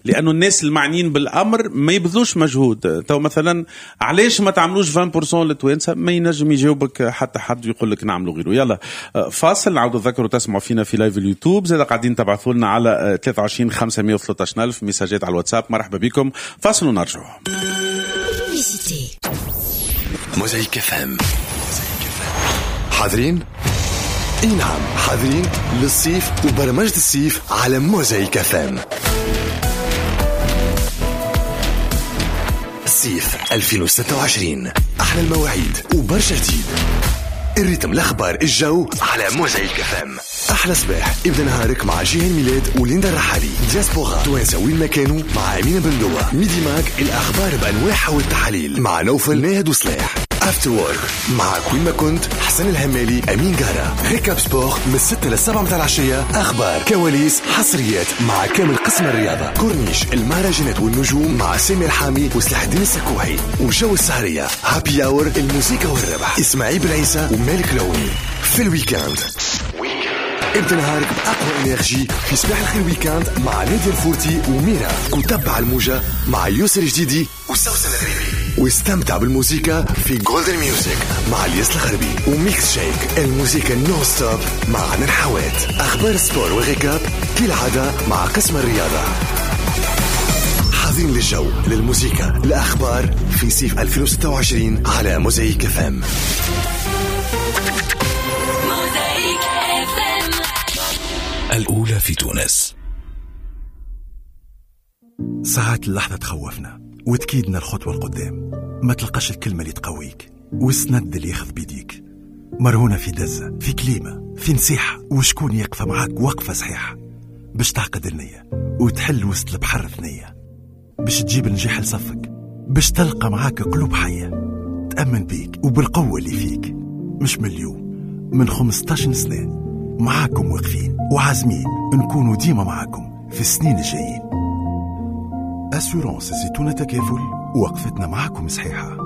[SPEAKER 2] لانه الناس المعنيين بالامر ما يبذلوش مجهود. تو مثلا علاش ما تعملوش عشرين بالمية للتوانسه؟ ما ينجم يجاوبك حتى حد ويقول لك نعملوا غيره. يلا فاصل، نعاودوا نذكروا تسمعوا فينا في live اليوتيوب، زاد قاعدين تبعثوا لنا على ثلاثة وعشرين خمسمية وثلاثة عشر ألف ميساجات على الواتساب. مرحبا بكم، فاصل ونرجعوا.
[SPEAKER 1] موزايك FM حاضرين؟ اي نعم حاضرين للصيف وبرمجة الصيف على موزايك FM. الصيف ألفين وستة وعشرين، احلى المواعيد وبرشا جديد، ال rythme، الاخبار، الجو على موزايك FM. احلى صباح ابدا نهارك مع جيهان ميلاد وليندا الرحالي، دياسبورا توانسة وين ما كانوا مع امينه بندوه، ميدي ماك الاخبار بانواعها والتحاليل مع نوفل ناهد وصلاح. After Work معك وين ما كنت، حسن الهمالي، امين قارة. récap sport من ستة للسبعة متاع العشية، اخبار، كواليس، حصريات مع كامل قسم الرياضة، كورنيش المهرجانات والنجوم مع سامي الحامي وسلاح الدين السكوحي، وجو السهريه، happy hour، الموسيقى والربح، اسماعيل بالعيسى ومالك العوني. في ال week-end ابدا نهارك بأقوى énergie في صباح الخير week-end مع نادية الفورتي وميرا، وتبع الموجة مع يسر جديدي وسوسن الغريبي، واستمتع بالموسيقى في Golden Music مع الياس الغربي، و Mix Shake الموسيقى non-stop مع عنان حوات. أخبار sport و récap كالعادة مع قسم الرياضة. حاضرين للجو، للموسيقى، الأخبار في صيف ألفين وستة وعشرين على موزايك اف ام.
[SPEAKER 7] الأولى في تونس.
[SPEAKER 1] ساعات اللحظة تخوفنا وتكيدنا الخطوة القدام، ما تلقاش الكلمة اللي تقويك والسند اللي ياخذ بيديك، مرهونة في دزة، في كليمة، في نصيحة، وشكون يقف معاك وقفة صحيحة باش تعقد النية وتحل وسط البحر ثنية، باش تجيب النجاح لصفك، باش تلقى معاك قلوب حية تأمن بيك وبالقوة اللي فيك. مش من اليوم، من خمستاشر سنة معاكم واقفين وعازمين نكونوا ديما معاكم في السنين الجايين. assurance زيتونة تكافل، وقفتنا معاكم صحيحة.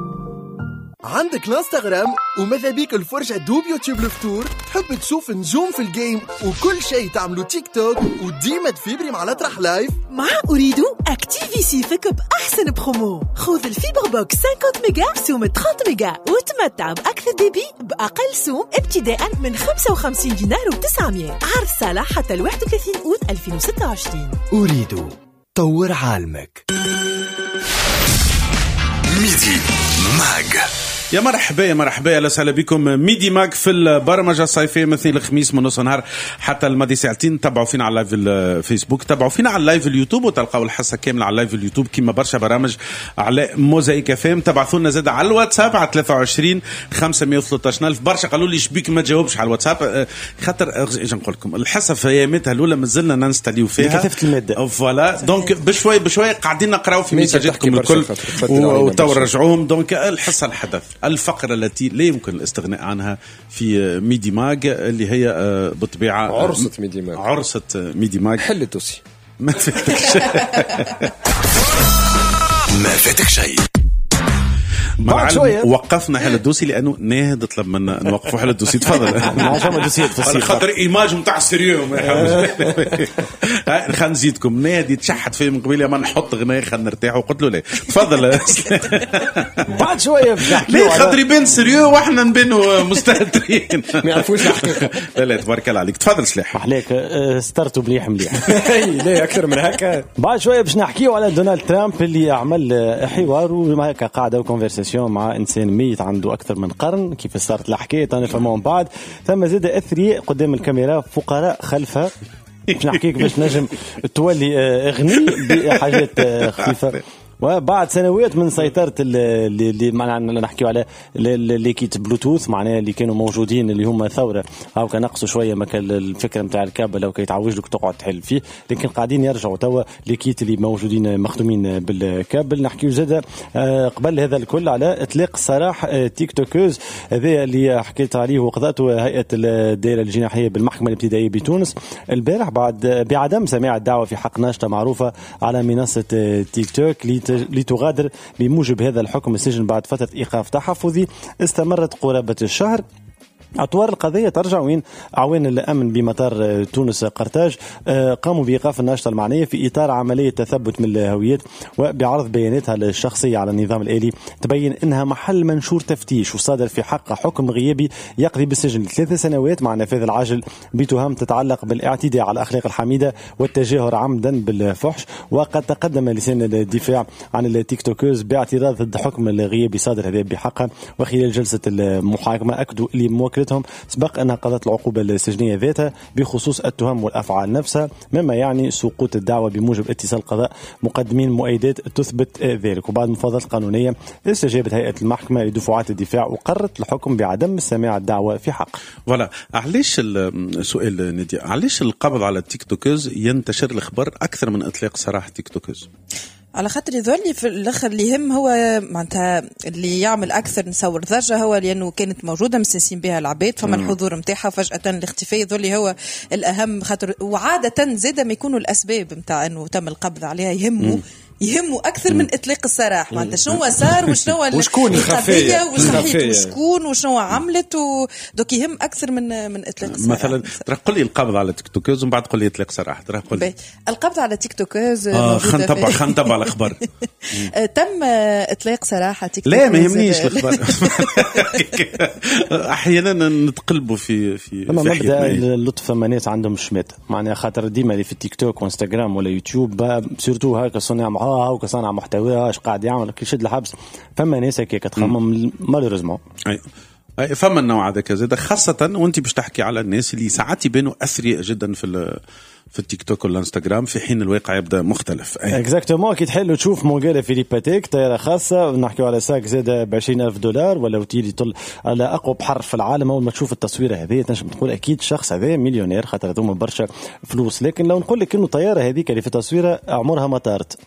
[SPEAKER 8] عندك الانستغرام وماذا بيك الفرجة دوب يوتيوب الفطور، تحب تشوف نجوم في ال game وكل شيء تعملو تيك توك وديما تفيبري مع الأطرح live.
[SPEAKER 9] مع أوريدو اكتيفي سيفك بأحسن برومو، خذ ال fibre box خمسين ميجا بسوم ثلاثين ميجا وتمتع بأكثر débit بأقل سوم ابتداء من خمسة وخمسين دينار وتسعمية. عرض صالح حتى الواحد وثلاثين أوت ألفين وستة وعشرين.
[SPEAKER 8] أوريدو طور عالمك.
[SPEAKER 1] Midi Mag.
[SPEAKER 2] يا مرحبا يا مرحبا، اهلا وسهلا بكم. Midi Mag في البرمجة الصيفية مثل الخميس من نص نهار حتى الماضي ساعتين. تبعوا فينا على live الفيسبوك، تبعوا فينا على live اليوتيوب، وتلقاو الحصة كاملة على live اليوتيوب كما برشا برامج على موزايك اف ام. تبعثوا لنا زاد على الواتساب على ثلاثة وعشرين خمسمية وثلاثطاش ألف. برشا قالوا لي شبيك ما تجاوبش على الواتساب، خاطر اجي نقول لكم الحصة في ايامتها الاولى مازلنا ننستاليو فيها
[SPEAKER 5] كثافة المادة
[SPEAKER 2] voilà، donc بشوي بشوي قاعدين نقراو في ميساجاتكم الكل وتو رجعوهم. donc الحصة الحدث، الفقرة التي لا يمكن الاستغناء عنها في Midi Mag اللي هي بالطبيعة
[SPEAKER 4] عرصة Midi Mag.
[SPEAKER 2] عرصة Midi Mag.
[SPEAKER 4] حل ال dossier.
[SPEAKER 2] ما فاتك شيء.
[SPEAKER 1] ما فاتك شيء.
[SPEAKER 2] مع وقفنا حل ال dossier لأنه ناهد طلب منا نوقفوا حل ال dossier. تفضل. على خاطر image نتاع sérieux. خلينا نزيدكم، ناهد يتشحت فيه من قبيلة ما نحط غناء خلينا نرتاح، وقلت له لا تفضل.
[SPEAKER 5] بعد شوية
[SPEAKER 2] ليه خاطر يبان sérieux واحنا نبانوا مستهترين
[SPEAKER 4] ما يعرفوش الحقيقة.
[SPEAKER 2] لا لا تبارك الله عليك، تفضل سلاح.
[SPEAKER 5] عليك سترتوا مليح مليح.
[SPEAKER 4] لا اكثر من هكا.
[SPEAKER 5] بعد شوية باش نحكيو على دونالد ترامب اللي عمل حوار وهكا قاعدة و conversation مع انسان ميت عنده اكثر من قرن، كيف صارت الحكاية انا فهموا من بعد. ثم زاد اثرياء قدام الكاميرا، فقراء خلفها. باش نحكيك باش نجم تولي غني بحاجات خفيفة. وبعد سنوات من سيطرة اللي معنا نحكيو على les kits Bluetooth، معناها اللي كانوا موجودين اللي هما ثورة، هاو كان نقصوا شوية مكان الفكرة نتاع الكابل لو كي يتعوج لك تقعد تحل فيه، لكن قاعدين يرجعوا توا les kits اللي موجودين مخدومين بالكابل. نحكيو زاد قبل هذا الكل على اطلاق سراح TikTokeuse، هذا اللي حكيت عليه وقضاته هيئة الدائرة الجناحيه بالمحكمه الابتدائية بتونس البارح بعد بعدم سماع الدعوة في حق ناشطة معروفة على منصة تيك توك لتغادر بموجب هذا الحكم السجن بعد فترة إيقاف تحفظي استمرت قرابة الشهر. أطوار القضية ترجع وين أعوان الأمن بمطار تونس قرطاج قاموا بإيقاف الناشطة المعنية في إطار عملية تثبت من الهويات وبعرض بياناتها الشخصية على النظام الآلي تبين أنها محل منشور تفتيش وصادر في حقها حكم غيابي يقضي بالسجن ثلاث سنوات مع نفاذ العاجل بتهم تتعلق بالاعتداء على الأخلاق الحميدة والتجاهر عمدا بالفحش. وقد تقدم لسان الدفاع عن ال TikTokeuse باعتراض ضد حكم الغيابي صادر هذا بحقها، وخلال جلسة المحاكمة أكدوا لموكلتهم سبق أنها قضت العقوبة السجنية ذاتها بخصوص التهم والأفعال نفسها، مما يعني سقوط الدعوة بموجب اتصال قضاء مقدمين مؤيدات تثبت ذلك. وبعد المفاوضات القانونية استجابت هيئة المحكمة لدفعات الدفاع وقررت الحكم بعدم سماع الدعوة في حق.
[SPEAKER 2] voilà، علاش السؤال نادية، علاش القبض على ال TikTokeuse ينتشر الخبر أكثر من إطلاق سراح TikTokeuse؟
[SPEAKER 3] على خاطر يظل في الاخر اللي يهم هو معناتها اللي يعمل اكثر نصور ضجه هو لانه كانت موجودة مستنسين بها العباد، فما الحضور نتاعها فجاة الاختفاء يظل هو الاهم، خاطر وعاده زاده ما يكونوا الاسباب نتاع انه تم القبض عليها يهموا يهموا اكثر من اطلاق السراح، معناتها شنو صار وشنو
[SPEAKER 4] وشكون
[SPEAKER 3] الخفية وشكون وشنو عملت و... donc يهم اكثر من من اطلاق السراح.
[SPEAKER 2] مثلا ترى قل لي القبض على TikTokeuse ومن بعد قل لي اطلاق سراح. ترى قل لي
[SPEAKER 3] القبض على TikTokeuse
[SPEAKER 2] آه خلينا نتبع خلينا نتبع الاخبار.
[SPEAKER 3] تم اطلاق سراح TikTokeuse.
[SPEAKER 2] لا ما يهمنيش الاخبار. احيانا نتقلبوا في في
[SPEAKER 5] في مبدا اللطف، فما ناس عندهم شمات معناها خاطر ديما اللي في التيك توك وانستغرام ولا يوتيوب surtout هكا صناع اه وكصانع محتوى اش قاعد يعمل كي يشد الحبس، فما ناس هكاك تخمم malheureusement.
[SPEAKER 2] اي اي فما النوع هذاك زاد، خاصة وانت باش تحكي على الناس اللي ساعات يبانوا اثرياء جدا في في التيك توك والانستغرام، في حين الواقع يبدا مختلف.
[SPEAKER 5] exactement كي تحل وتشوف مونغالا فيليب باتيك طيارة خاصة، نحكيو على sac زاد ب عشرين ألف دولار ولا اوتيل يطل على اقوى بحر في العالم. اول ما تشوف التصويره هذه تنجم تقول اكيد الشخص هذا مليونير خاطر هذوما برشا فلوس، لكن لو نقول لك انه الطيارة هذيك اللي في التصويره عمرها ما طارت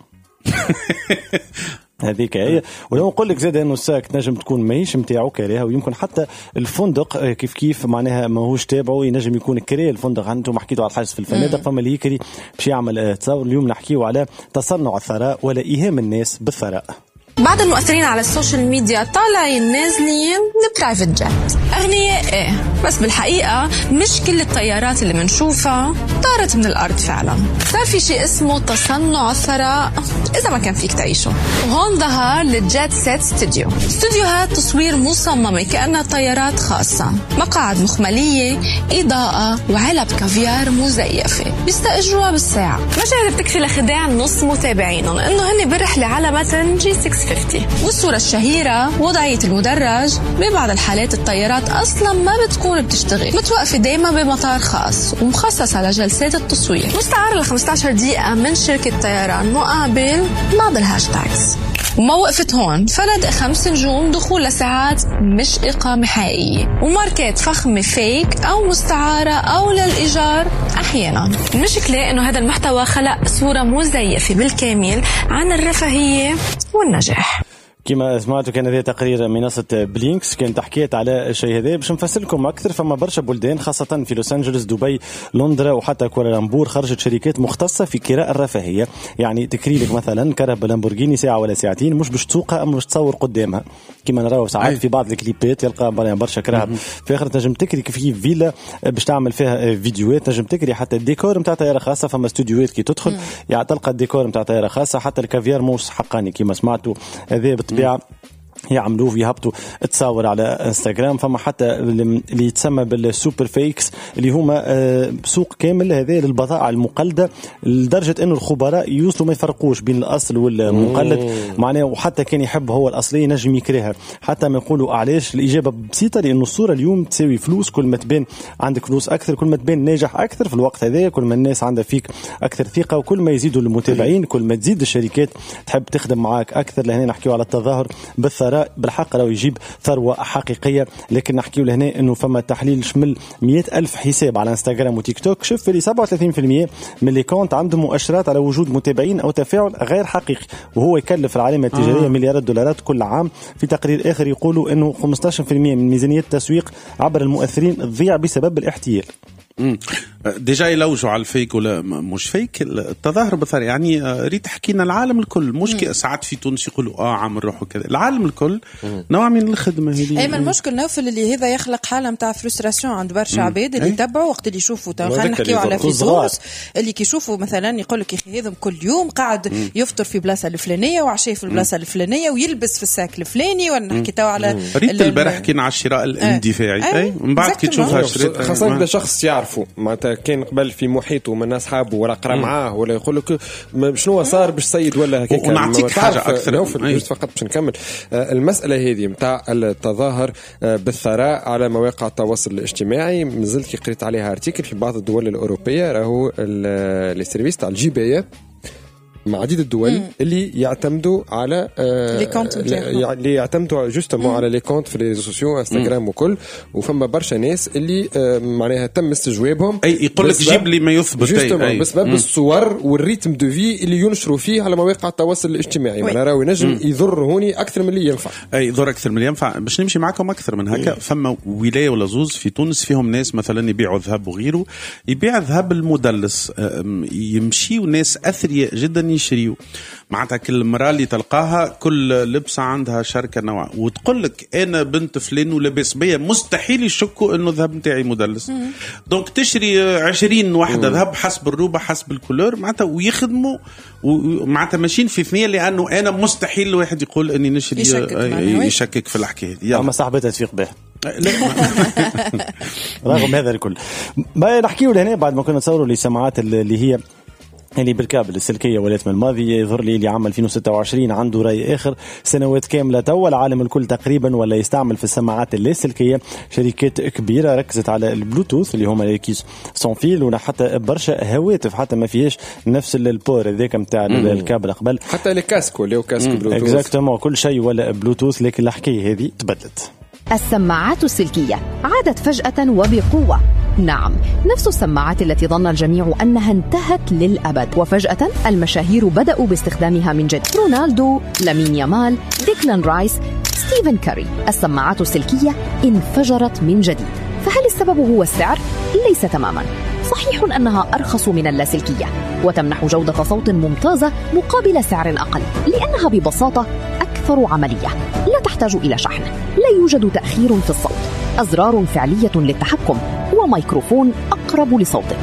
[SPEAKER 5] هذيك هي. ولو نقول لك زاد انه ال sac تنجم تكون ماهيش نتاعو كاريها، ويمكن حتى الفندق كيف كيف معناها ماهوش تابعه، ينجم يكون كري الفندق. انتم حكيتوا على الحجز في الفنادق، فما اللي يكري باش يعمل تصور. اليوم نحكيو على تصنع الثراء ولا ايهام الناس بالثراء.
[SPEAKER 10] بعض المؤثرين على ال social media طالعين نازلين ب private jet، أغنياء إيه، بس بالحقيقة مش كل الطيارات اللي منشوفها طارت من الأرض فعلا. صار في شيء اسمه تصنع الثراء إذا ما كان فيك تعيشه، وهون ظهر ال jet set studio، استوديوهات تصوير مصممة كأنها طيارات خاصة، مقاعد مخملية، إضاءة، وعلب كافيار مزيفة بيستأجروها بالساعة. مشاهد بتكفي لخداع نص متابعينهم إنه هن برحلة على متن جي ستمية وخمسين. والصورة الشهيرة وضعية المدرج، ببعض الحالات الطيارات أصلا ما بتكون بتشتغل، متوقفة دايما بمطار خاص ومخصصة لجلسات التصوير، مستعارة ل خمسة عشر دقيقة من شركة طيران مقابل بعض ال hashtags. وما وقفت هون، فنادق خمس نجوم دخول لساعات مش إقامة حقيقية، وماركات فخمة fake أو مستعارة أو للإيجار أحيانا. المشكلة إنه هذا المحتوى خلق صورة مزيفة بالكامل عن الرفاهية والنجاح.
[SPEAKER 5] كما سمعتوا كان هذا تقرير منصة بلينكس كانت حكيت على الشيء هذا. باش نفسر لكم أكثر، فما برشا بلدان خاصة في لوس أنجلوس، دبي، لندرا وحتى كوالالمبور خرجت شركات مختصة في كراء الرفاهية. يعني تكري لك مثلا كرهبة لامبورغيني ساعة ولا ساعتين، مش باش تسوقها أما باش تصور قدامها كما نراو ساعات في بعض الكليبات يلقى برشا كرهب في آخر. تنجم تكري كيف فيلا باش تعمل فيها فيديوهات، تنجم تكري حتى الديكور نتاع طيارة خاصة. فما استوديوهات كي تدخل يعني تلقى الديكور نتاع طيارة خاصة، حتى الكافيار مش حقاني كما سمعتوا هذا بالطبيعة يعملوه ويهبطوا تصاور على انستغرام. فما حتى اللي يتسمى بال super fakes اللي هما سوق كامل هذا للبضائع المقلده، لدرجة انه الخبراء يوصلوا ما يفرقوش بين الاصل والمقلد معناه، وحتى كان يحب هو الاصلي ينجم يكرهها. حتى ما يقولوا علاش، الاجابة بسيطة، لانه الصورة اليوم تساوي فلوس. كل ما تبان عندك فلوس اكثر، كل ما تبان ناجح اكثر في الوقت هذا، كل ما الناس عندها فيك اكثر ثقة، وكل ما يزيدوا المتابعين، كل ما تزيد الشركات تحب تخدم معاك اكثر. لهنا نحكيو على التظاهر بالثراء بالحق لو يجيب ثروة حقيقية. لكن نحكيو لهنا انه فما تحليل شمل مئة ألف حساب على انستغرام وتيك توك، شوف اللي سبعة وثلاثين بالمئة من les comptes عندهم مؤشرات على وجود متابعين او تفاعل غير حقيقي، وهو يكلف العلامة التجارية آه. مليارات دولارات كل عام. في تقرير اخر يقولوا انه خمسة عشر بالمئة من ميزانية التسويق عبر المؤثرين تضيع بسبب الاحتيال.
[SPEAKER 2] déjà يلوجوا على ال fake ولا مش fake التظاهر بالثراء. يعني ريت حكينا العالم الكل مش ساعات في تونس يقولوا اه عامل روحه كذا، العالم الكل نوع من الخدمة هذه.
[SPEAKER 3] اي المشكل نوفل اللي هذا يخلق حاله نتاع frustration عند برشا عباد اللي يتبعوا وقت اللي يشوفوا. خلينا نحكيو على في تونس اللي كيشوفوا مثلا يقول لك يا اخي هذا كل يوم قاعد يفطر في بلاصة الفلانية وعشاء في البلاصة الفلانية ويلبس في ال sac الفلاني، ولا نحكي تو على
[SPEAKER 2] ريت البارح كان على الشراء الاندفاعي. اي من بعد كي تشوفها شريت
[SPEAKER 4] خاصة اذا شخص يعرفه معناتها كان قبل في محيطه من اصحابه ولا قرا معاه ولا يقول لك شنو صار باش سيد ولا هكاك.
[SPEAKER 2] ونعطيك حاجة اكثر
[SPEAKER 4] فقط باش نكمل المسالة هذه نتاع التظاهر بالثراء على مواقع التواصل الاجتماعي. مازلت كي قريت عليها article في بعض الدول الاوروبية راهو les services تاع الجبايه مع عديد الدول مم. اللي يعتمدوا على
[SPEAKER 3] les comptes،
[SPEAKER 4] اللي يعتمدوا justement على les comptes في les réseaux sociaux انستغرام وكل، وفما برشا ناس اللي معناها تم استجوابهم،
[SPEAKER 2] اي يقول لك جيب لي ما يثبت
[SPEAKER 4] justement بسبب الصور وال rythme de vie اللي ينشروا فيه على مواقع التواصل الاجتماعي. معناها راهو ينجم يضر هوني اكثر من اللي ينفع.
[SPEAKER 2] اي يضر اكثر من اللي ينفع. باش نمشي معكم اكثر من هكا، فما ولاية ولا زوز في تونس فيهم ناس مثلا يبيعوا ذهب وغيره، يبيع ذهب المدلس، يمشيوا ناس اثرياء جدا يشريوا. معناتها كل مرة اللي تلقاها كل لبسة عندها شركة نوع، وتقول لك أنا بنت فلان ولبس بيا، مستحيل يشكوا إنه الذهب نتاعي مدلس. donc تشري عشرين واحدة ذهب حسب الروبة حسب ال couleur معناتها، ويخدموا ومعناتها ماشيين في ثنية، لأنه أنا مستحيل الواحد يقول إني نشري يشكك, يشكك في الحكاية.
[SPEAKER 5] أما صاحبتها تفيق به رغم هذا الكل. ما نحكيه لهنا بعد ما كنا نتصوروا لسماعات اللي هي اللي بالكابل السلكية ولات من الماضي، يظهر لي اللي عام ألفين وستة وعشرين عنده رأي آخر. سنوات كاملة توا العالم الكل تقريبا ولا يستعمل في السماعات اللاسلكية. شركات كبيرة ركزت على البلوتوث اللي هما les caisses sans fil، ولا حتى برشا هواتف حتى ما فيهاش نفس ال port هذاك نتاع الكابل قبل،
[SPEAKER 4] حتى les casques ولاو casque Bluetooth
[SPEAKER 5] exactement، كل شيء ولا بلوتوث. لكن الحكاية هذه تبدلت.
[SPEAKER 11] السماعات السلكية عادت فجأة وبقوة. نعم، نفس السماعات التي ظن الجميع أنها انتهت للأبد، وفجأة المشاهير بدأوا باستخدامها من جديد. رونالدو، لامين يامال، ديكلان رايس، ستيفن كاري. السماعات السلكية انفجرت من جديد. فهل السبب هو السعر؟ ليس تماما. صحيح أنها أرخص من اللاسلكية وتمنح جودة صوت ممتازة مقابل سعر أقل، لأنها ببساطة أكثر عملية، لا تحتاج إلى شحن، لا يوجد تأخير في الصوت، أزرار فعلية للتحكم، وميكروفون أقرب لصوتك.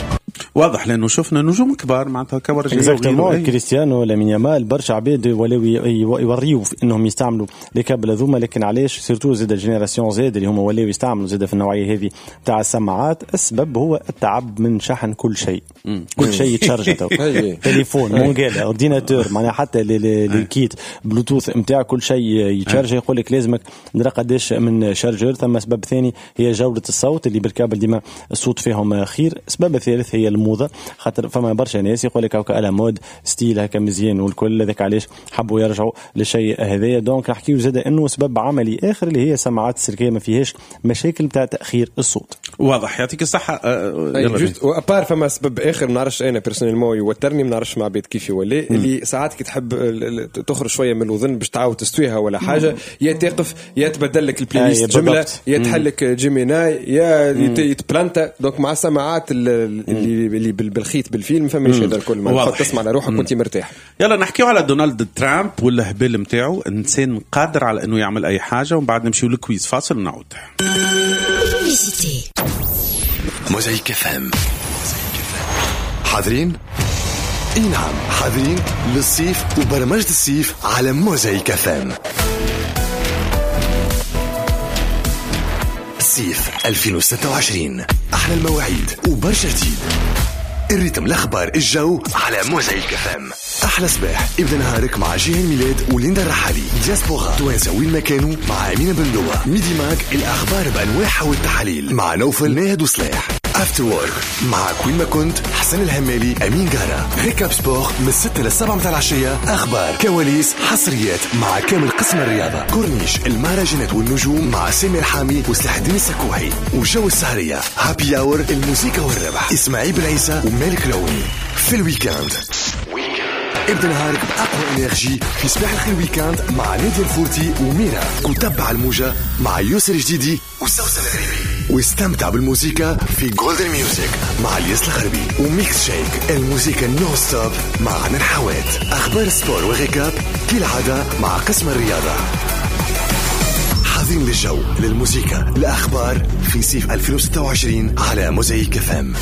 [SPEAKER 2] واضح لانه شفنا نجوم كبار معناتها كبار
[SPEAKER 5] exactement، كريستيانو، لامين يامال، برشا عباد ولاو يوريو انهم يستعملوا les câbles هذوما. لكن علاش surtout زاد génération Z اللي هما ولاو يستعملوا زاد في النوعية هذه تاع السماعات؟ السبب هو التعب من شحن كل شيء، كل شيء يتشارج تو، تليفون، مونجيلا، ordinateur، معناها حتى les kits Bluetooth نتاع كل شيء يتشارج. يقول لك لازمك ندرى قداش من chargeur. ثم سبب ثاني هي جوده الصوت اللي بالكابل ديما الصوت فيهم خير. سبب الثالث هي الموضة، خاطر فما برشا ناس يقول لك هكا à la mode style هكا مزيان والكل، هذاك علاش حبوا يرجعوا للشيء هذايا. donc نحكيو زاد انه سبب عملي اخر اللي هي سماعات السلكيه ما فيهاش مشاكل تاع تاخير الصوت.
[SPEAKER 2] واضح، يعطيك الصحة.
[SPEAKER 4] juste à part فما سبب اخر ما نعرفش انا personnellement يوترني، ما نعرفش مع عباد كيف يولي، اللي ساعات كي تحب تخرج شوية من الوذن باش تعاود تستويها ولا حاجة، يا تقف يا تبدل لك ال playlist جملة، يا تحلك Gemini، يا يتبلانتا. donc مع السماعات اللي اللي بالخيط بالفيلم فما هذا الكل، ما تسمع على روحك وانت مرتاح.
[SPEAKER 2] يلا نحكيو على دونالد ترامب والهبال نتاعو، انسان قادر على انه يعمل اي حاجة. ومن بعد نمشيو لل quiz، فاصل ونعود.
[SPEAKER 1] موزايك FM، حاضرين؟ اي نعم حاضرين للصيف وبرمجة الصيف على موزايك FM. صيف ألفين وستة وعشرين، احلى المواعيد وبرشا جديد، ال rythme، الاخبار، الجو على موزايك FM. احلى صباح ابدا نهارك مع جيهان ميلاد وليندا الرحالي، دياسبورا توانسة وين ما كانوا مع امينه بندوه، Midi Mag الاخبار بانواعها والتحاليل مع نوفل ناهد وصلاح، After Work معك وين ما كنت حسن الهمالي امين قارة، Récap Sport من الستة للسبعة متاع العشية، اخبار كواليس حصريات مع كامل قسم الرياضة، كورنيش المهرجانات والنجوم مع سامي الحامي وسلاح الدين السكوحي، وجو السهريه happy hour الموسيقى والربح اسماعيل بالعيسى ومالك العوني. في ال week-end ابدا نهارك بأقوى énergie في صباح الخير week-end مع نادي الفورتي وميرا، وتبع الموجة مع يوسر جديدي وسوسن الغريبي، واستمتع بالموسيقى في Golden Music مع الياس الغربي، و Mix Shake الموسيقى non-stop مع عنان حوات، أخبار sport و récap كالعادة مع قسم الرياضة. حاضرين للجو للموسيقى الأخبار في صيف ألفين وستة وعشرين على موزايك FM.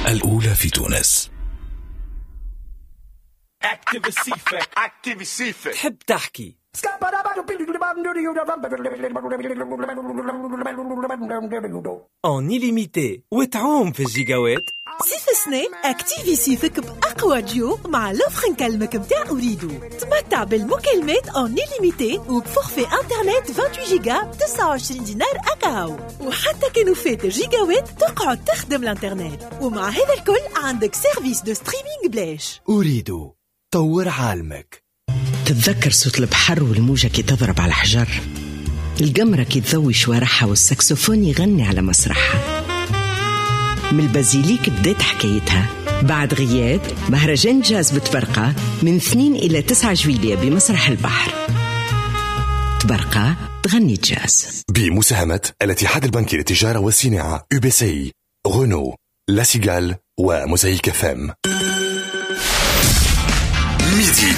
[SPEAKER 7] الأولى في تونس.
[SPEAKER 12] تحب تحكي. en illimité وتعوم في الجيجاوات.
[SPEAKER 9] صيف السنة activer صيفك بأقوى ديو مع l'offre نكلمك متاع أوريدو. تمتع بالمكالمات en illimité وب forfait internet ثمانية وعشرين جيجا ب تسعة وعشرين دينار أكاهو، وحتى كانوا فات جيجاوات تقعد تخدم الانترنت. ومع هذا الكل عندك service de streaming بلاش.
[SPEAKER 13] أوريدو طور عالمك.
[SPEAKER 14] تتذكر صوت البحر والموجة كي تضرب على الحجر، القمرة كي تضوي شوارعها والساكسوفون يغني على مسرحها. من البازيليك بدأت حكايتها. بعد غياب مهرجان جاز بتبرقة من اثنين إلى تسعة جويلية بمسرح البحر. تبرقة تغني جاز.
[SPEAKER 1] بمساهمة الاتحاد البنكي للتجارة والصناعة UBCI، Renault، La Cigale وموزايك FM. Midi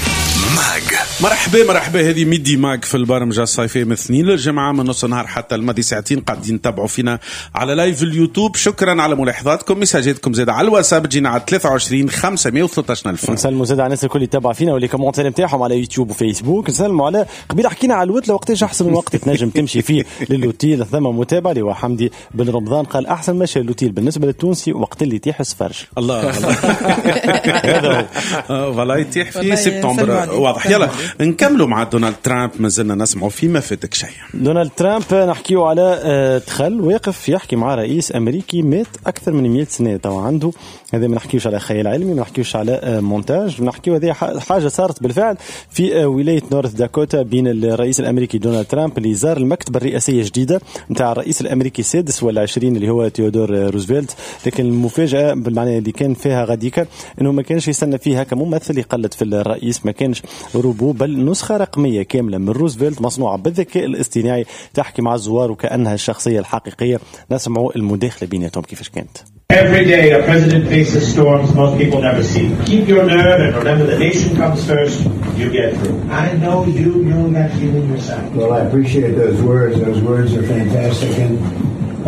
[SPEAKER 1] Mag.
[SPEAKER 2] مرحبا مرحبا، هذه Midi Mag في البرمجة الصيفية من اثنين للجمعة من نص النهار حتى الماضي ساعتين. قاعدين تتابعوا فينا على live اليوتيوب. شكرا على ملاحظاتكم، ميساجاتكم زاد على الواتساب تجينا على ثلاثة وعشرين خمسمية وثلاثة عشر ألف.
[SPEAKER 5] نسلموا زاد على الناس الكل اللي تابع فينا و les commentaires نتاعهم على يوتيوب وفيسبوك. نسلموا على قبيلة حكينا على الوتله وقتاش احسن وقت تنجم تمشي فيه للوتيل. ثم متابع اللي هو حمدي بن رمضان قال احسن مشي للوتيل بالنسبة للتونسي وقت اللي يتيح السفرج.
[SPEAKER 2] الله هذا هو voilà يتيح في سبتمبر واضح. يلا نكملوا مع دونالد ترامب، مازلنا نسمعوا فيما فاتك شيء.
[SPEAKER 5] دونالد ترامب نحكيو على دخل واقف يحكي مع رئيس امريكي مات اكثر من مئة سنة تو عنده. هذا ما نحكيوش على خيال علمي، ما نحكيوش على مونتاج، نحكيو هذه حاجة صارت بالفعل في ولاية نورث داكوتا بين الرئيس الامريكي دونالد ترامب اللي زار المكتبة الرئاسية الجديدة نتاع الرئيس الامريكي السادس والعشرين اللي هو تيودور روزفلت. لكن المفاجاة بالمعنى اللي كان فيها غاديكا انه ما كانش يستنى فيها كممثل يقلد في الرئيس، ما كانش روبو، بل نسخة رقمية كاملة من روزفلت مصنوعة بالذكاء الاصطناعي تحكي مع الزوار وكأنها الشخصية الحقيقية. نسمعوا المداخلة بيناتهم كيفاش كانت.
[SPEAKER 15] Every day a president faces storms most people never see. Keep your nerve and remember the nation comes first. You get through. I know you know that feeling yourself.
[SPEAKER 16] Well, I appreciate those words. Those words are fantastic. And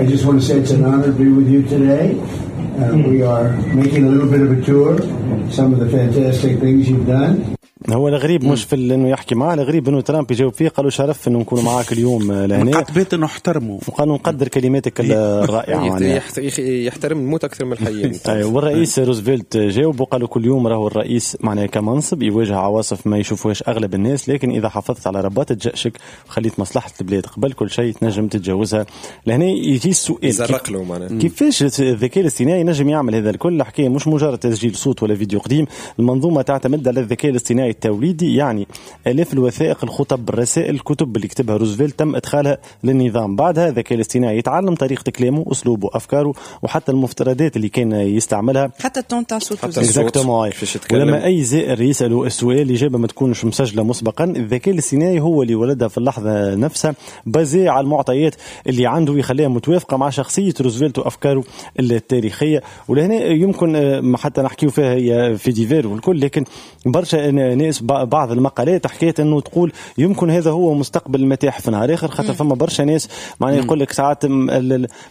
[SPEAKER 16] I just want to say it's an honor to be with you today. Uh, we are making a little bit of a tour, some of the fantastic things you've done.
[SPEAKER 5] هو الغريب مش في انه يحكي معاه، الغريب انه ترامب يجاوب فيه قالوا شرف انه نكون معاك اليوم لهنا.
[SPEAKER 2] قد انه احترمه
[SPEAKER 5] وقالوا نقدر كلماتك الرائعة.
[SPEAKER 4] يحترم الموت اكثر من الحي.
[SPEAKER 5] ايوه، والرئيس روزفلت جاوب وقالوا كل يوم راهو الرئيس معناه كمنصب يواجه عواصف ما يشوفوهاش اغلب الناس، لكن اذا حافظت على رباطة جأشك وخليت مصلحة البلاد قبل كل شيء تنجم تتجاوزها. لهنا يجي السؤال
[SPEAKER 4] يزرق له معناه
[SPEAKER 5] كيفاش الذكاء الاصطناعي نجم يعمل هذا الكل؟ الحكاية مش مجرد تسجيل صوت ولا فيديو قديم، المنظومة تعتمد على الذكاء الاصطناعي التوليدي، يعني آلاف الوثائق، الخطب، الرسائل، الكتب اللي كتبها روزفلت تم إدخالها للنظام. بعدها الذكاء الاصطناعي يتعلم طريقة كلامه، أسلوبه، أفكاره، وحتى المفترضات اللي كان يستعملها،
[SPEAKER 3] حتى ال ton تاع صوته.
[SPEAKER 5] ولما أي زائر يسأله السؤال الإجابة ما تكونش مسجلة مسبقا، الذكاء الاصطناعي هو اللي ولدها في اللحظة نفسها basé على المعطيات اللي عنده يخليها متوافقة مع شخصية روزفلت وأفكاره التاريخية. ولهنا يمكن حتى نحكيو فيها هي في divers والكل، لكن برشا ناس بعض المقالات حكيت انه تقول يمكن هذا هو مستقبل المتاحف نهار اخر، خاطر فما برشا ناس معناها يقول لك ساعات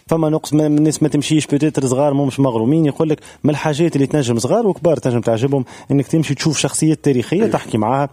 [SPEAKER 5] فما نقص من الناس ما تمشيش peut-être صغار مش مغرومين، يقول لك من الحاجات اللي تنجم صغار وكبار تنجم تعجبهم انك تمشي تشوف شخصية تاريخية تحكي معاها،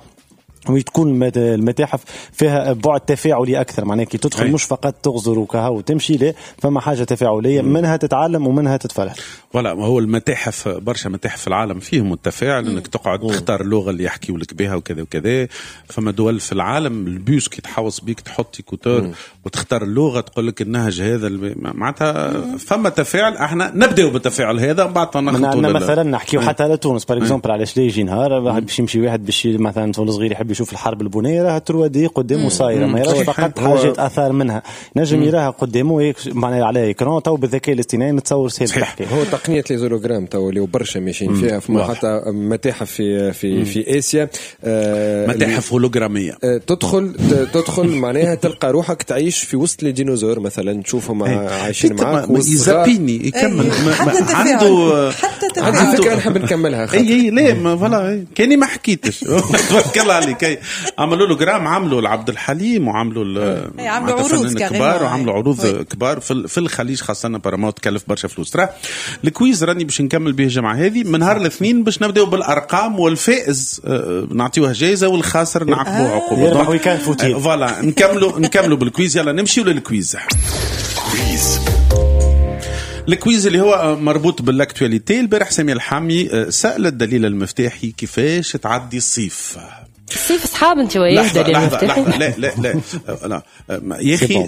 [SPEAKER 5] وتكون المتاحف فيها بعد تفاعلي أكثر، معناها كي تدخل مش فقط تغزر وكها وتمشي، لا فما حاجة تفاعلية منها تتعلم ومنها تتفرح.
[SPEAKER 2] voilà، ما هو المتاحف برشا متاحف في العالم فيهم التفاعل، انك تقعد تختار اللغة اللي يحكيوا لك بها وكذا وكذا. فما دول في العالم البيوس كي تحوص بيك تحط écouteurs وتختار اللغة تقول لك النهج هذا، معناتها فما تفاعل. احنا نبداو بالتفاعل هذا ومن بعد
[SPEAKER 5] نخلطوا. مثلا نحكيو حتى على تونس par exemple، علاش لا يجي نهار باش يمشي واحد باش مثلا طفل صغير يحب يشوف الحرب البنية، راها trois D قدامه صايرة، ما يراش فقط حاجات اثار منها، نجم يراها قدامه معناها على écran. تو بالذكاء الاصطناعي نتصور سهل تحكي.
[SPEAKER 4] هو تقنية les hologrammes تو اللي برشا ماشيين فيها، فما حتى متاحف في في في اسيا
[SPEAKER 2] آه متاحف هولوغراميه،
[SPEAKER 4] آه تدخل تدخل معناها تلقى روحك تعيش في وسط les dinosaures مثلا، تشوفهم عايشين معاك
[SPEAKER 2] يزابيني يكمل عنده
[SPEAKER 4] حتى عنده فكرة نحب نكملها.
[SPEAKER 2] اي اي لا voilà كاني ما حكيتش. تبارك الله عليك. هكا عملوا له جرام، عملوا لعبد الحليم وعملوا
[SPEAKER 3] عملوا عروض
[SPEAKER 2] كبار وعملوا عروض كبار في الخليج خاصة. بارامونت تكلف برشا فلوس. ترى ال quiz راني باش نكمل به الجمعة هذه من نهار الاثنين باش نبداو بالارقام، والفائز نعطيوه جائزة والخاسر نعاقبوه عقوبه. voilà نكملوا نكملوا بال quiz. يلا نمشيو لل quiz. quiz ال quiz اللي هو مربوط بال actualité. البارح سامي الحامي سأل الدليل المفتاحي كيفاش تعدي الصيف.
[SPEAKER 17] الصيف صحاب انت وياه دليل المفتاحي؟
[SPEAKER 2] لا لا لا لا يا اخي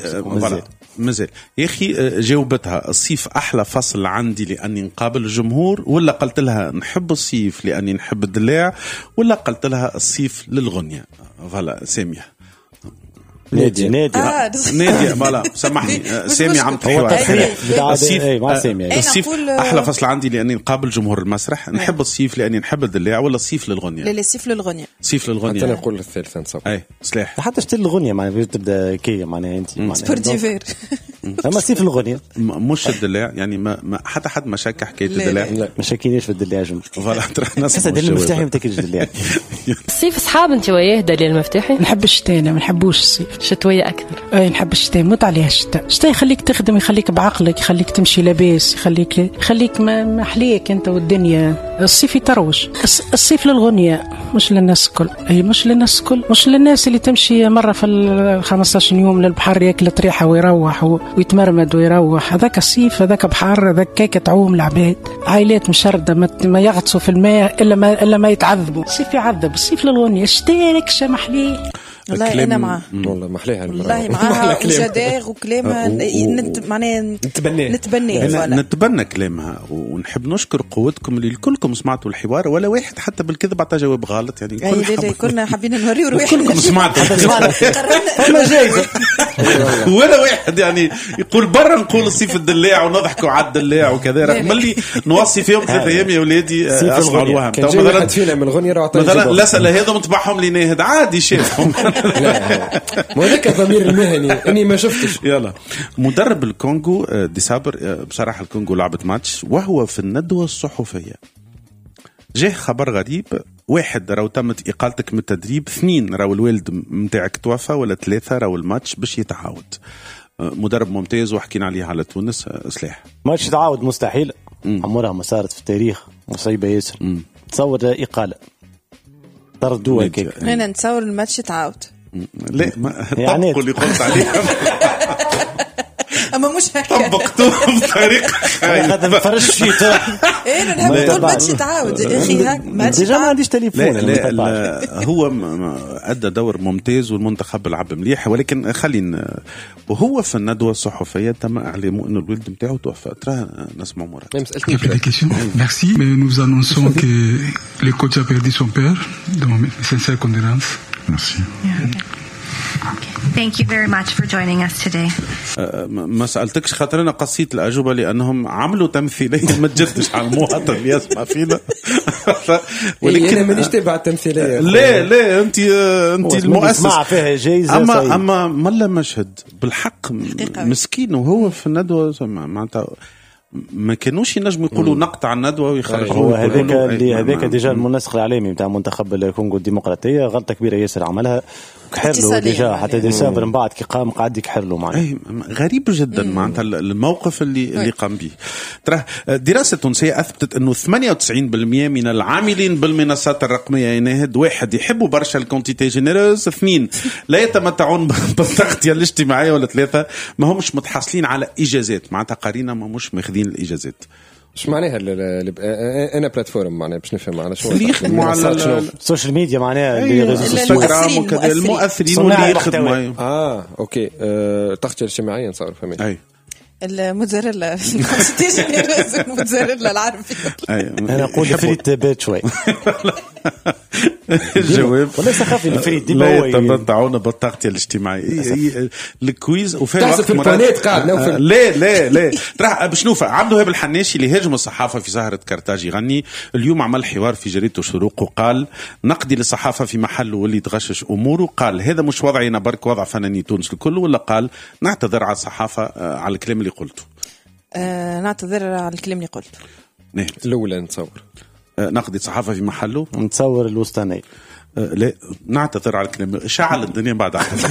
[SPEAKER 2] مازال يا اخي جاوبتها الصيف احلى فصل عندي لاني نقابل الجمهور، ولا قلت لها نحب الصيف لاني نحب الدلاع، ولا قلت لها الصيف للغنية. voilà سامية
[SPEAKER 5] نادية نادية
[SPEAKER 2] آه. نادية voilà سامحني سامي عم تحوار. الصيف الصيف أحلى فصل عندي لأني نقابل جمهور المسرح، نحب الصيف لأني نحب الدلاع، ولا الصيف للغنية؟
[SPEAKER 3] لا الصيف للغنية.
[SPEAKER 2] الصيف للغنية.
[SPEAKER 4] حتى نقول الثالث نصور.
[SPEAKER 2] أي سلاح.
[SPEAKER 5] حتى شتي الغنية معناها تبدأ كي معناها أنت
[SPEAKER 3] sport d'hiver.
[SPEAKER 5] أما الصيف للغنية
[SPEAKER 2] مش الدلاع يعني ما, ما حتى حد ما شك حكاية الدلاع.
[SPEAKER 5] ما شكيناش في الدلاع جملة.
[SPEAKER 2] voilà ترى
[SPEAKER 5] ناس دليل المفتاحي ما تاكلش الدلاع.
[SPEAKER 17] الصيف صحاب أنت وياه دليل المفتاحي؟
[SPEAKER 18] نحب الشتاء أنا ما نحبوش الصيف.
[SPEAKER 17] شتوية أكثر.
[SPEAKER 18] أي نحب الشتاء، موت عليها الشتاء. الشتاء يخليك تخدم، يخليك بعقلك، يخليك تمشي لاباس، يخليك يخليك ما محليك أنت والدنيا. الصيف يتروج. الصيف للغنية مش للناس الكل. أي مش للناس الكل، مش للناس اللي تمشي مرة في ال خمسة عشر يوم للبحر ياكل طريحة ويروح ويتمرمد ويروح. هذاك الصيف، هذاك بحر، هذاك كيكة تعوم العباد، عائلات مشردة ما يغطسوا في الماء إلا ما إلا ما يتعذبوا. الصيف يعذب. الصيف للغنية. الشتاء لك محليه.
[SPEAKER 3] والله انا معاه،
[SPEAKER 4] والله محليها
[SPEAKER 3] والله معاها وجداغ وكلامها نت... معناها
[SPEAKER 4] نتبناه
[SPEAKER 3] نتبناه
[SPEAKER 2] نتبنى كلامها. ونحب نشكر قوتكم اللي كلكم سمعتوا الحوار، ولا واحد حتى بالكذب عطى جواب غلط يعني.
[SPEAKER 3] كل كلنا حابين نوريو رواحنا
[SPEAKER 2] كلكم سمعتوا فما جايزة ولا واحد يعني يقول برا نقول الصيف الدلاع ونضحكوا على الدلاع وكذا، رغم اللي نوصي فيهم ثلاث ايام يا ولادي اصلوا الوهم.
[SPEAKER 4] مثلا فينا من الغنية
[SPEAKER 2] مثلا الاسئلة هذا مطبعهم لناهد عادي شافهم.
[SPEAKER 4] لا ما هذاك الضمير المهني اني ما شفتش.
[SPEAKER 2] يلا مدرب الكونغو ديسابر، بصراحة الكونغو لعبت ماتش وهو في الندوة الصحفية جاه خبر غريب. واحد راو تمت اقالتك من التدريب، اثنين راو الوالد متاعك توفى، ولا ثلاثة راو الماتش باش يتعاود. مدرب ممتاز وحكينا عليه على تونس. سلاح
[SPEAKER 5] ماتش يتعاود مستحيل، عمرها ما صارت في التاريخ، مصيبة ياسر. تصور اقاله طردوها هكاك.
[SPEAKER 3] انا نتصور الماتش يتعاود.
[SPEAKER 2] لا ما طبقوا اللي قلت عليه.
[SPEAKER 3] اما مش هكا
[SPEAKER 2] طبقتوه بطريقة
[SPEAKER 5] خايبة. ما فرش فيه.
[SPEAKER 3] انا نحب نقول ماتش يتعاود يا اخي، هاك
[SPEAKER 5] ماتش déjà ما عنديش تليفون.
[SPEAKER 2] لا لا هو ادى دور ممتاز والمنتخب لعب مليح، ولكن خلينا وهو في الندوة الصحفية تم اعلامه انه الولد نتاعو توفى. ترى نسمع مراد.
[SPEAKER 19] Merci, mais nous annonçons que le coach a perdu son père, donc mes sincères condoléances. Merci.
[SPEAKER 20] Thank you very much for joining us today.
[SPEAKER 2] ما سألتكش خاطر أنا قصيت الأجوبة لأنهم عملوا تمثيلية ما تجدش على المواطن اللي يسمع فينا.
[SPEAKER 4] ولكن أنا مانيش تابع التمثيلية.
[SPEAKER 2] لا لا أنت أنت المؤسس.
[SPEAKER 5] فيها جايزة.
[SPEAKER 2] أما أما ملا مشهد بالحق مسكين وهو في الندوة معناتها ما كانوش ينجموا يقولوا نقطع الندوة ويخرجوا.
[SPEAKER 5] هو هذاك اللي هذاك déjà المنسق الاعلامي نتاع منتخب الكونغو الديمقراطية غلطه كبيرة ياسر عملها، كحر له déjà حتى ديسابر من بعد كي قام قعد يكحر له معناها.
[SPEAKER 2] غريب جدا معناتها الموقف اللي اللي قام به. ترى دراسة تونسية اثبتت انه ثمانية وتسعين بالمئة من العاملين بالمنصات الرقمية يناهد واحد يحبوا برشا ال quantité généreuse، اثنين لا يتمتعون بالتغطيه الاجتماعية، ولا ثلاثة ما همش متحصلين على اجازات، معناتها قارينا ما همش ماخذين الاجازات.
[SPEAKER 4] ايش معناها انا plateforme معناها باش نفهم على شو
[SPEAKER 2] اللي يخدموا على
[SPEAKER 5] ال social media معناها
[SPEAKER 2] les réseaux انستغرام وكذا المؤثرين واللي يخدموا.
[SPEAKER 4] اه OK التغطية الاجتماعية نصور فهمت.
[SPEAKER 2] اي
[SPEAKER 3] الموتزاريلا الموتزاريلا العربي.
[SPEAKER 5] انا نقول فريت بات شوي.
[SPEAKER 2] الجواب
[SPEAKER 5] ولا سخافي الفريد ديما
[SPEAKER 2] هو يتمتعون بالتغطيه الاجتماعية. ال quiz وفي
[SPEAKER 4] الوقت مرات قاعد
[SPEAKER 2] لا لا لا ترى باش نوفى. عبد الوهاب الحناشي اللي هاجم الصحافة في سهره كرتاج يغني اليوم عمل حوار في جريدة الشروق وقال نقدي للصحافة في محله واللي تغشش اموره. قال هذا مش وضعي انا برك، وضع فناني تونس الكل. ولا قال نعتذر على الصحافة على الكلام اللي قلته.
[SPEAKER 3] أه نعتذر على الكلام اللي قلته.
[SPEAKER 4] الاولى نتصور
[SPEAKER 2] نقدي الصحافة في محله،
[SPEAKER 5] نتصور الوسطاني.
[SPEAKER 2] لا نعتذر على الكلام، شعل الدنيا بعد اعتذر.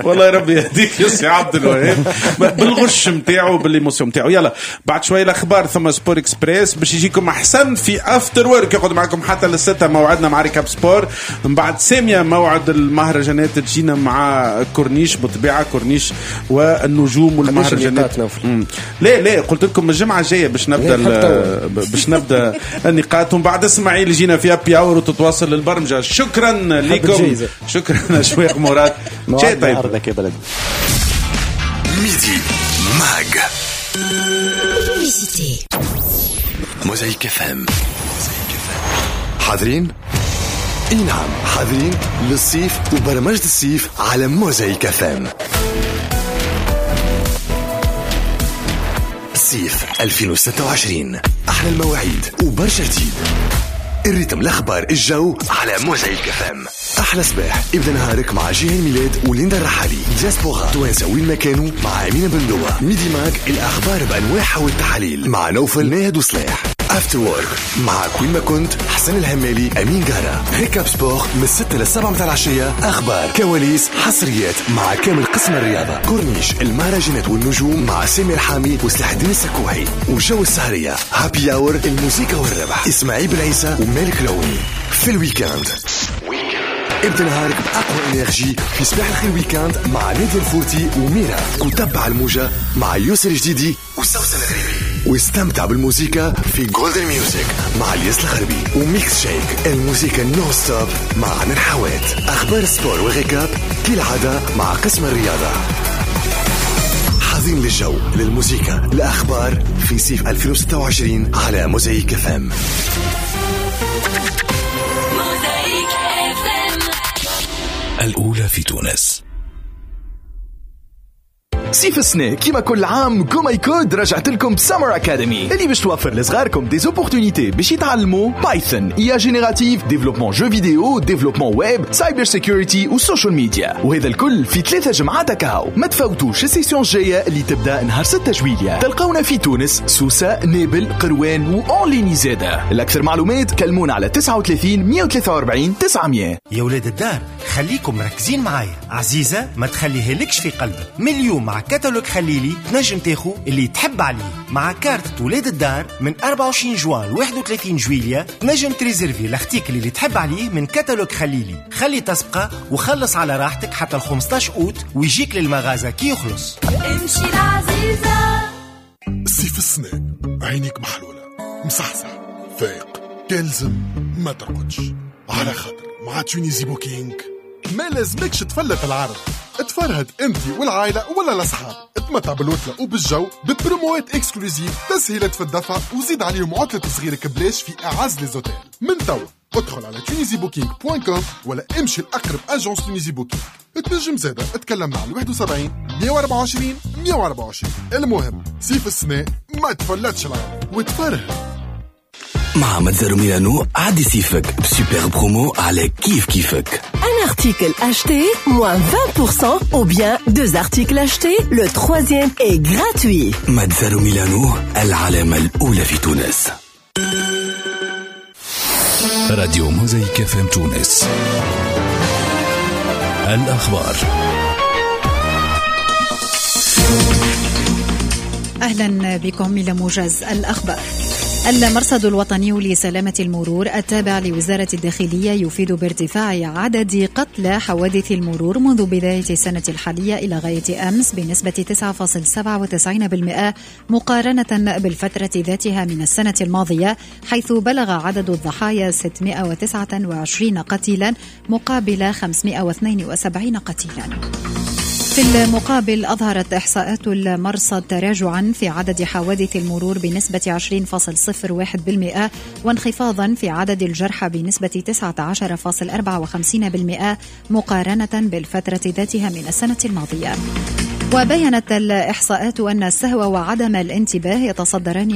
[SPEAKER 2] والله ربي يهديك يا سي عبد الوهاب بالغش نتاعو بال émotion نتاعو. يلا بعد شوية الاخبار ثم Sport Express باش يجيكم احسن في After Work، يقعد معكم حتى للستة. موعدنا مع récap sport، من بعد سامية موعد المهرجانات تجينا مع كورنيش، بالطبيعة كورنيش والنجوم والمهرجانات. لا لا قلت لكم الجمعة الجاية باش نبدا باش نبدا النقاط، ومن بعد اسماعيل يجينا في happy hour وتتواصل البرمجة. شكرا لكم، شكرا أشواق مراد. شيء طيب
[SPEAKER 5] أرضك يا بلد.
[SPEAKER 1] Midi Mag موزايك FM. حاضرين؟ اي نعم حاضرين للصيف وبرمجة الصيف على موزايك FM. صيف ألفين وستة وعشرين، احلى المواعيد وبرشا جديد، ال rythme، الاخبار، الجو على موزايك FM. احلى صباح ابدا نهارك مع جيهان ميلاد وليندا الرحالي، دياسبورا توانسة وين ما كانوا مع امينه بندوه، Midi Mag الاخبار بانواعها والتحاليل مع نوفل ناهد وصلاح، After Work معك وين ما كنت حسن الهمالي امين جارة، récap sport من الستة للسبعة متاع العشية، اخبار كواليس حصريات مع كامل قسم الرياضة، كورنيش المهرجانات والنجوم مع سامي الحامي وسلاح الدين السكوحي، وجو السهرية happy hour الموسيقى والربح اسماعيل بن عيسى ومالك العوني. في ال week-end ابدا نهارك بأقوى énergie في صباح الخير week-end مع نادية الفورتي وميرا، وتبع الموجة مع يوسر جديدي وسوسن الغريبي، واستمتع بالموسيقى في Golden Music مع الياس الغربي، و Mix Shake الموسيقى non stop مع عمر حوات. أخبار sport و récap كالعادة مع قسم الرياضة. حاضرين للجو للموسيقى الأخبار في صيف ألفين وستة وعشرين على موزايك FM.
[SPEAKER 7] الأولى في تونس.
[SPEAKER 8] صيف السنة كيما كل عام GoMyCode رجعت لكم ب Summer Academy اللي باش توفر لصغاركم des opportunités باش يتعلموا Python، IA générative، développement jeux vidéo، développement web، cyber security و social media، وهذا الكل في ثلاثة جمعات كاو. ما تفوتوش ال session الجاية اللي تبدا نهار ستة جويلية. تلقونا في تونس، سوسة، نابل، قروان و en ligne زادة. الأكثر معلومات كلمونا على تسعة وثلاثين مية وثلاثة وأربعين تسعمية.
[SPEAKER 21] يا ولاد الدار خليكم مركزين معايا، عزيزة ما تخليها لكش في قلبك. من اليوم مع كتالوج خليلي تنجم تاخو اللي تحب عليه مع كارت ولاد الدار من أربعة وعشرين جوان ل واحد وثلاثين جويلية. تنجم تريزيرفي l'article اللي تحب عليه من كتالوج خليلي، خلي تسبقه وخلص على راحتك حتى ال خمسطاش أوت ويجيك للمغازة كي يخلص.
[SPEAKER 22] امشي العزيزة.
[SPEAKER 23] صيف السنة عينيك محلولة مصحصح فايق تلزم ما ترقدش على خاطر مع Tunisie Booking ما لازمكش تفلت العرض. تفرهد انت والعائلة ولا الاصحاب، تمتع بالوتله وبالجو ببروموات exclusives، تسهيلات في الدفع، وزيد عليهم عطله صغيرك بلاش في اعز les hôtels. من توا ادخل على Tunisie Booking point com ولا امشي لاقرب agence Tunisie Booking. تنجم زاده تكلمنا على واحد وسبعين مية وأربعة وعشرين مية وأربعة وعشرين. المهم صيف السنة ما تفلتش العرض وتفرهد.
[SPEAKER 7] مع متزر ميلانو عدي صيفك ب super promo على كيف كيفك.
[SPEAKER 9] Un article acheté, moins vingt pour cent, ou bien deux articles achetés, le troisième est gratuit.
[SPEAKER 7] متزر ميلانو العلامة الأولى في تونس. راديو موزايك FM تونس. الأخبار.
[SPEAKER 24] أهلا بكم إلى موجز الأخبار. المرصد الوطني لسلامة المرور التابع لوزارة الداخلية يفيد بارتفاع عدد قتلى حوادث المرور منذ بداية السنة الحالية إلى غاية أمس بنسبة تسعة فاصلة سبعة وتسعين بالمئة مقارنة بالفترة ذاتها من السنة الماضية، حيث بلغ عدد الضحايا ستمائة وتسعة وعشرين قتيلا مقابل خمسمائة واثنين وسبعين قتيلا. في المقابل أظهرت إحصاءات المرصد تراجعا في عدد حوادث المرور بنسبة عشرين فاصلة صفر واحد بالمئة وانخفاضا في عدد الجرحى بنسبة تسعة عشر فاصلة أربعة وخمسين بالمئة مقارنة بالفترة ذاتها من السنة الماضية. وبينت الإحصاءات أن السهو وعدم الانتباه يتصدران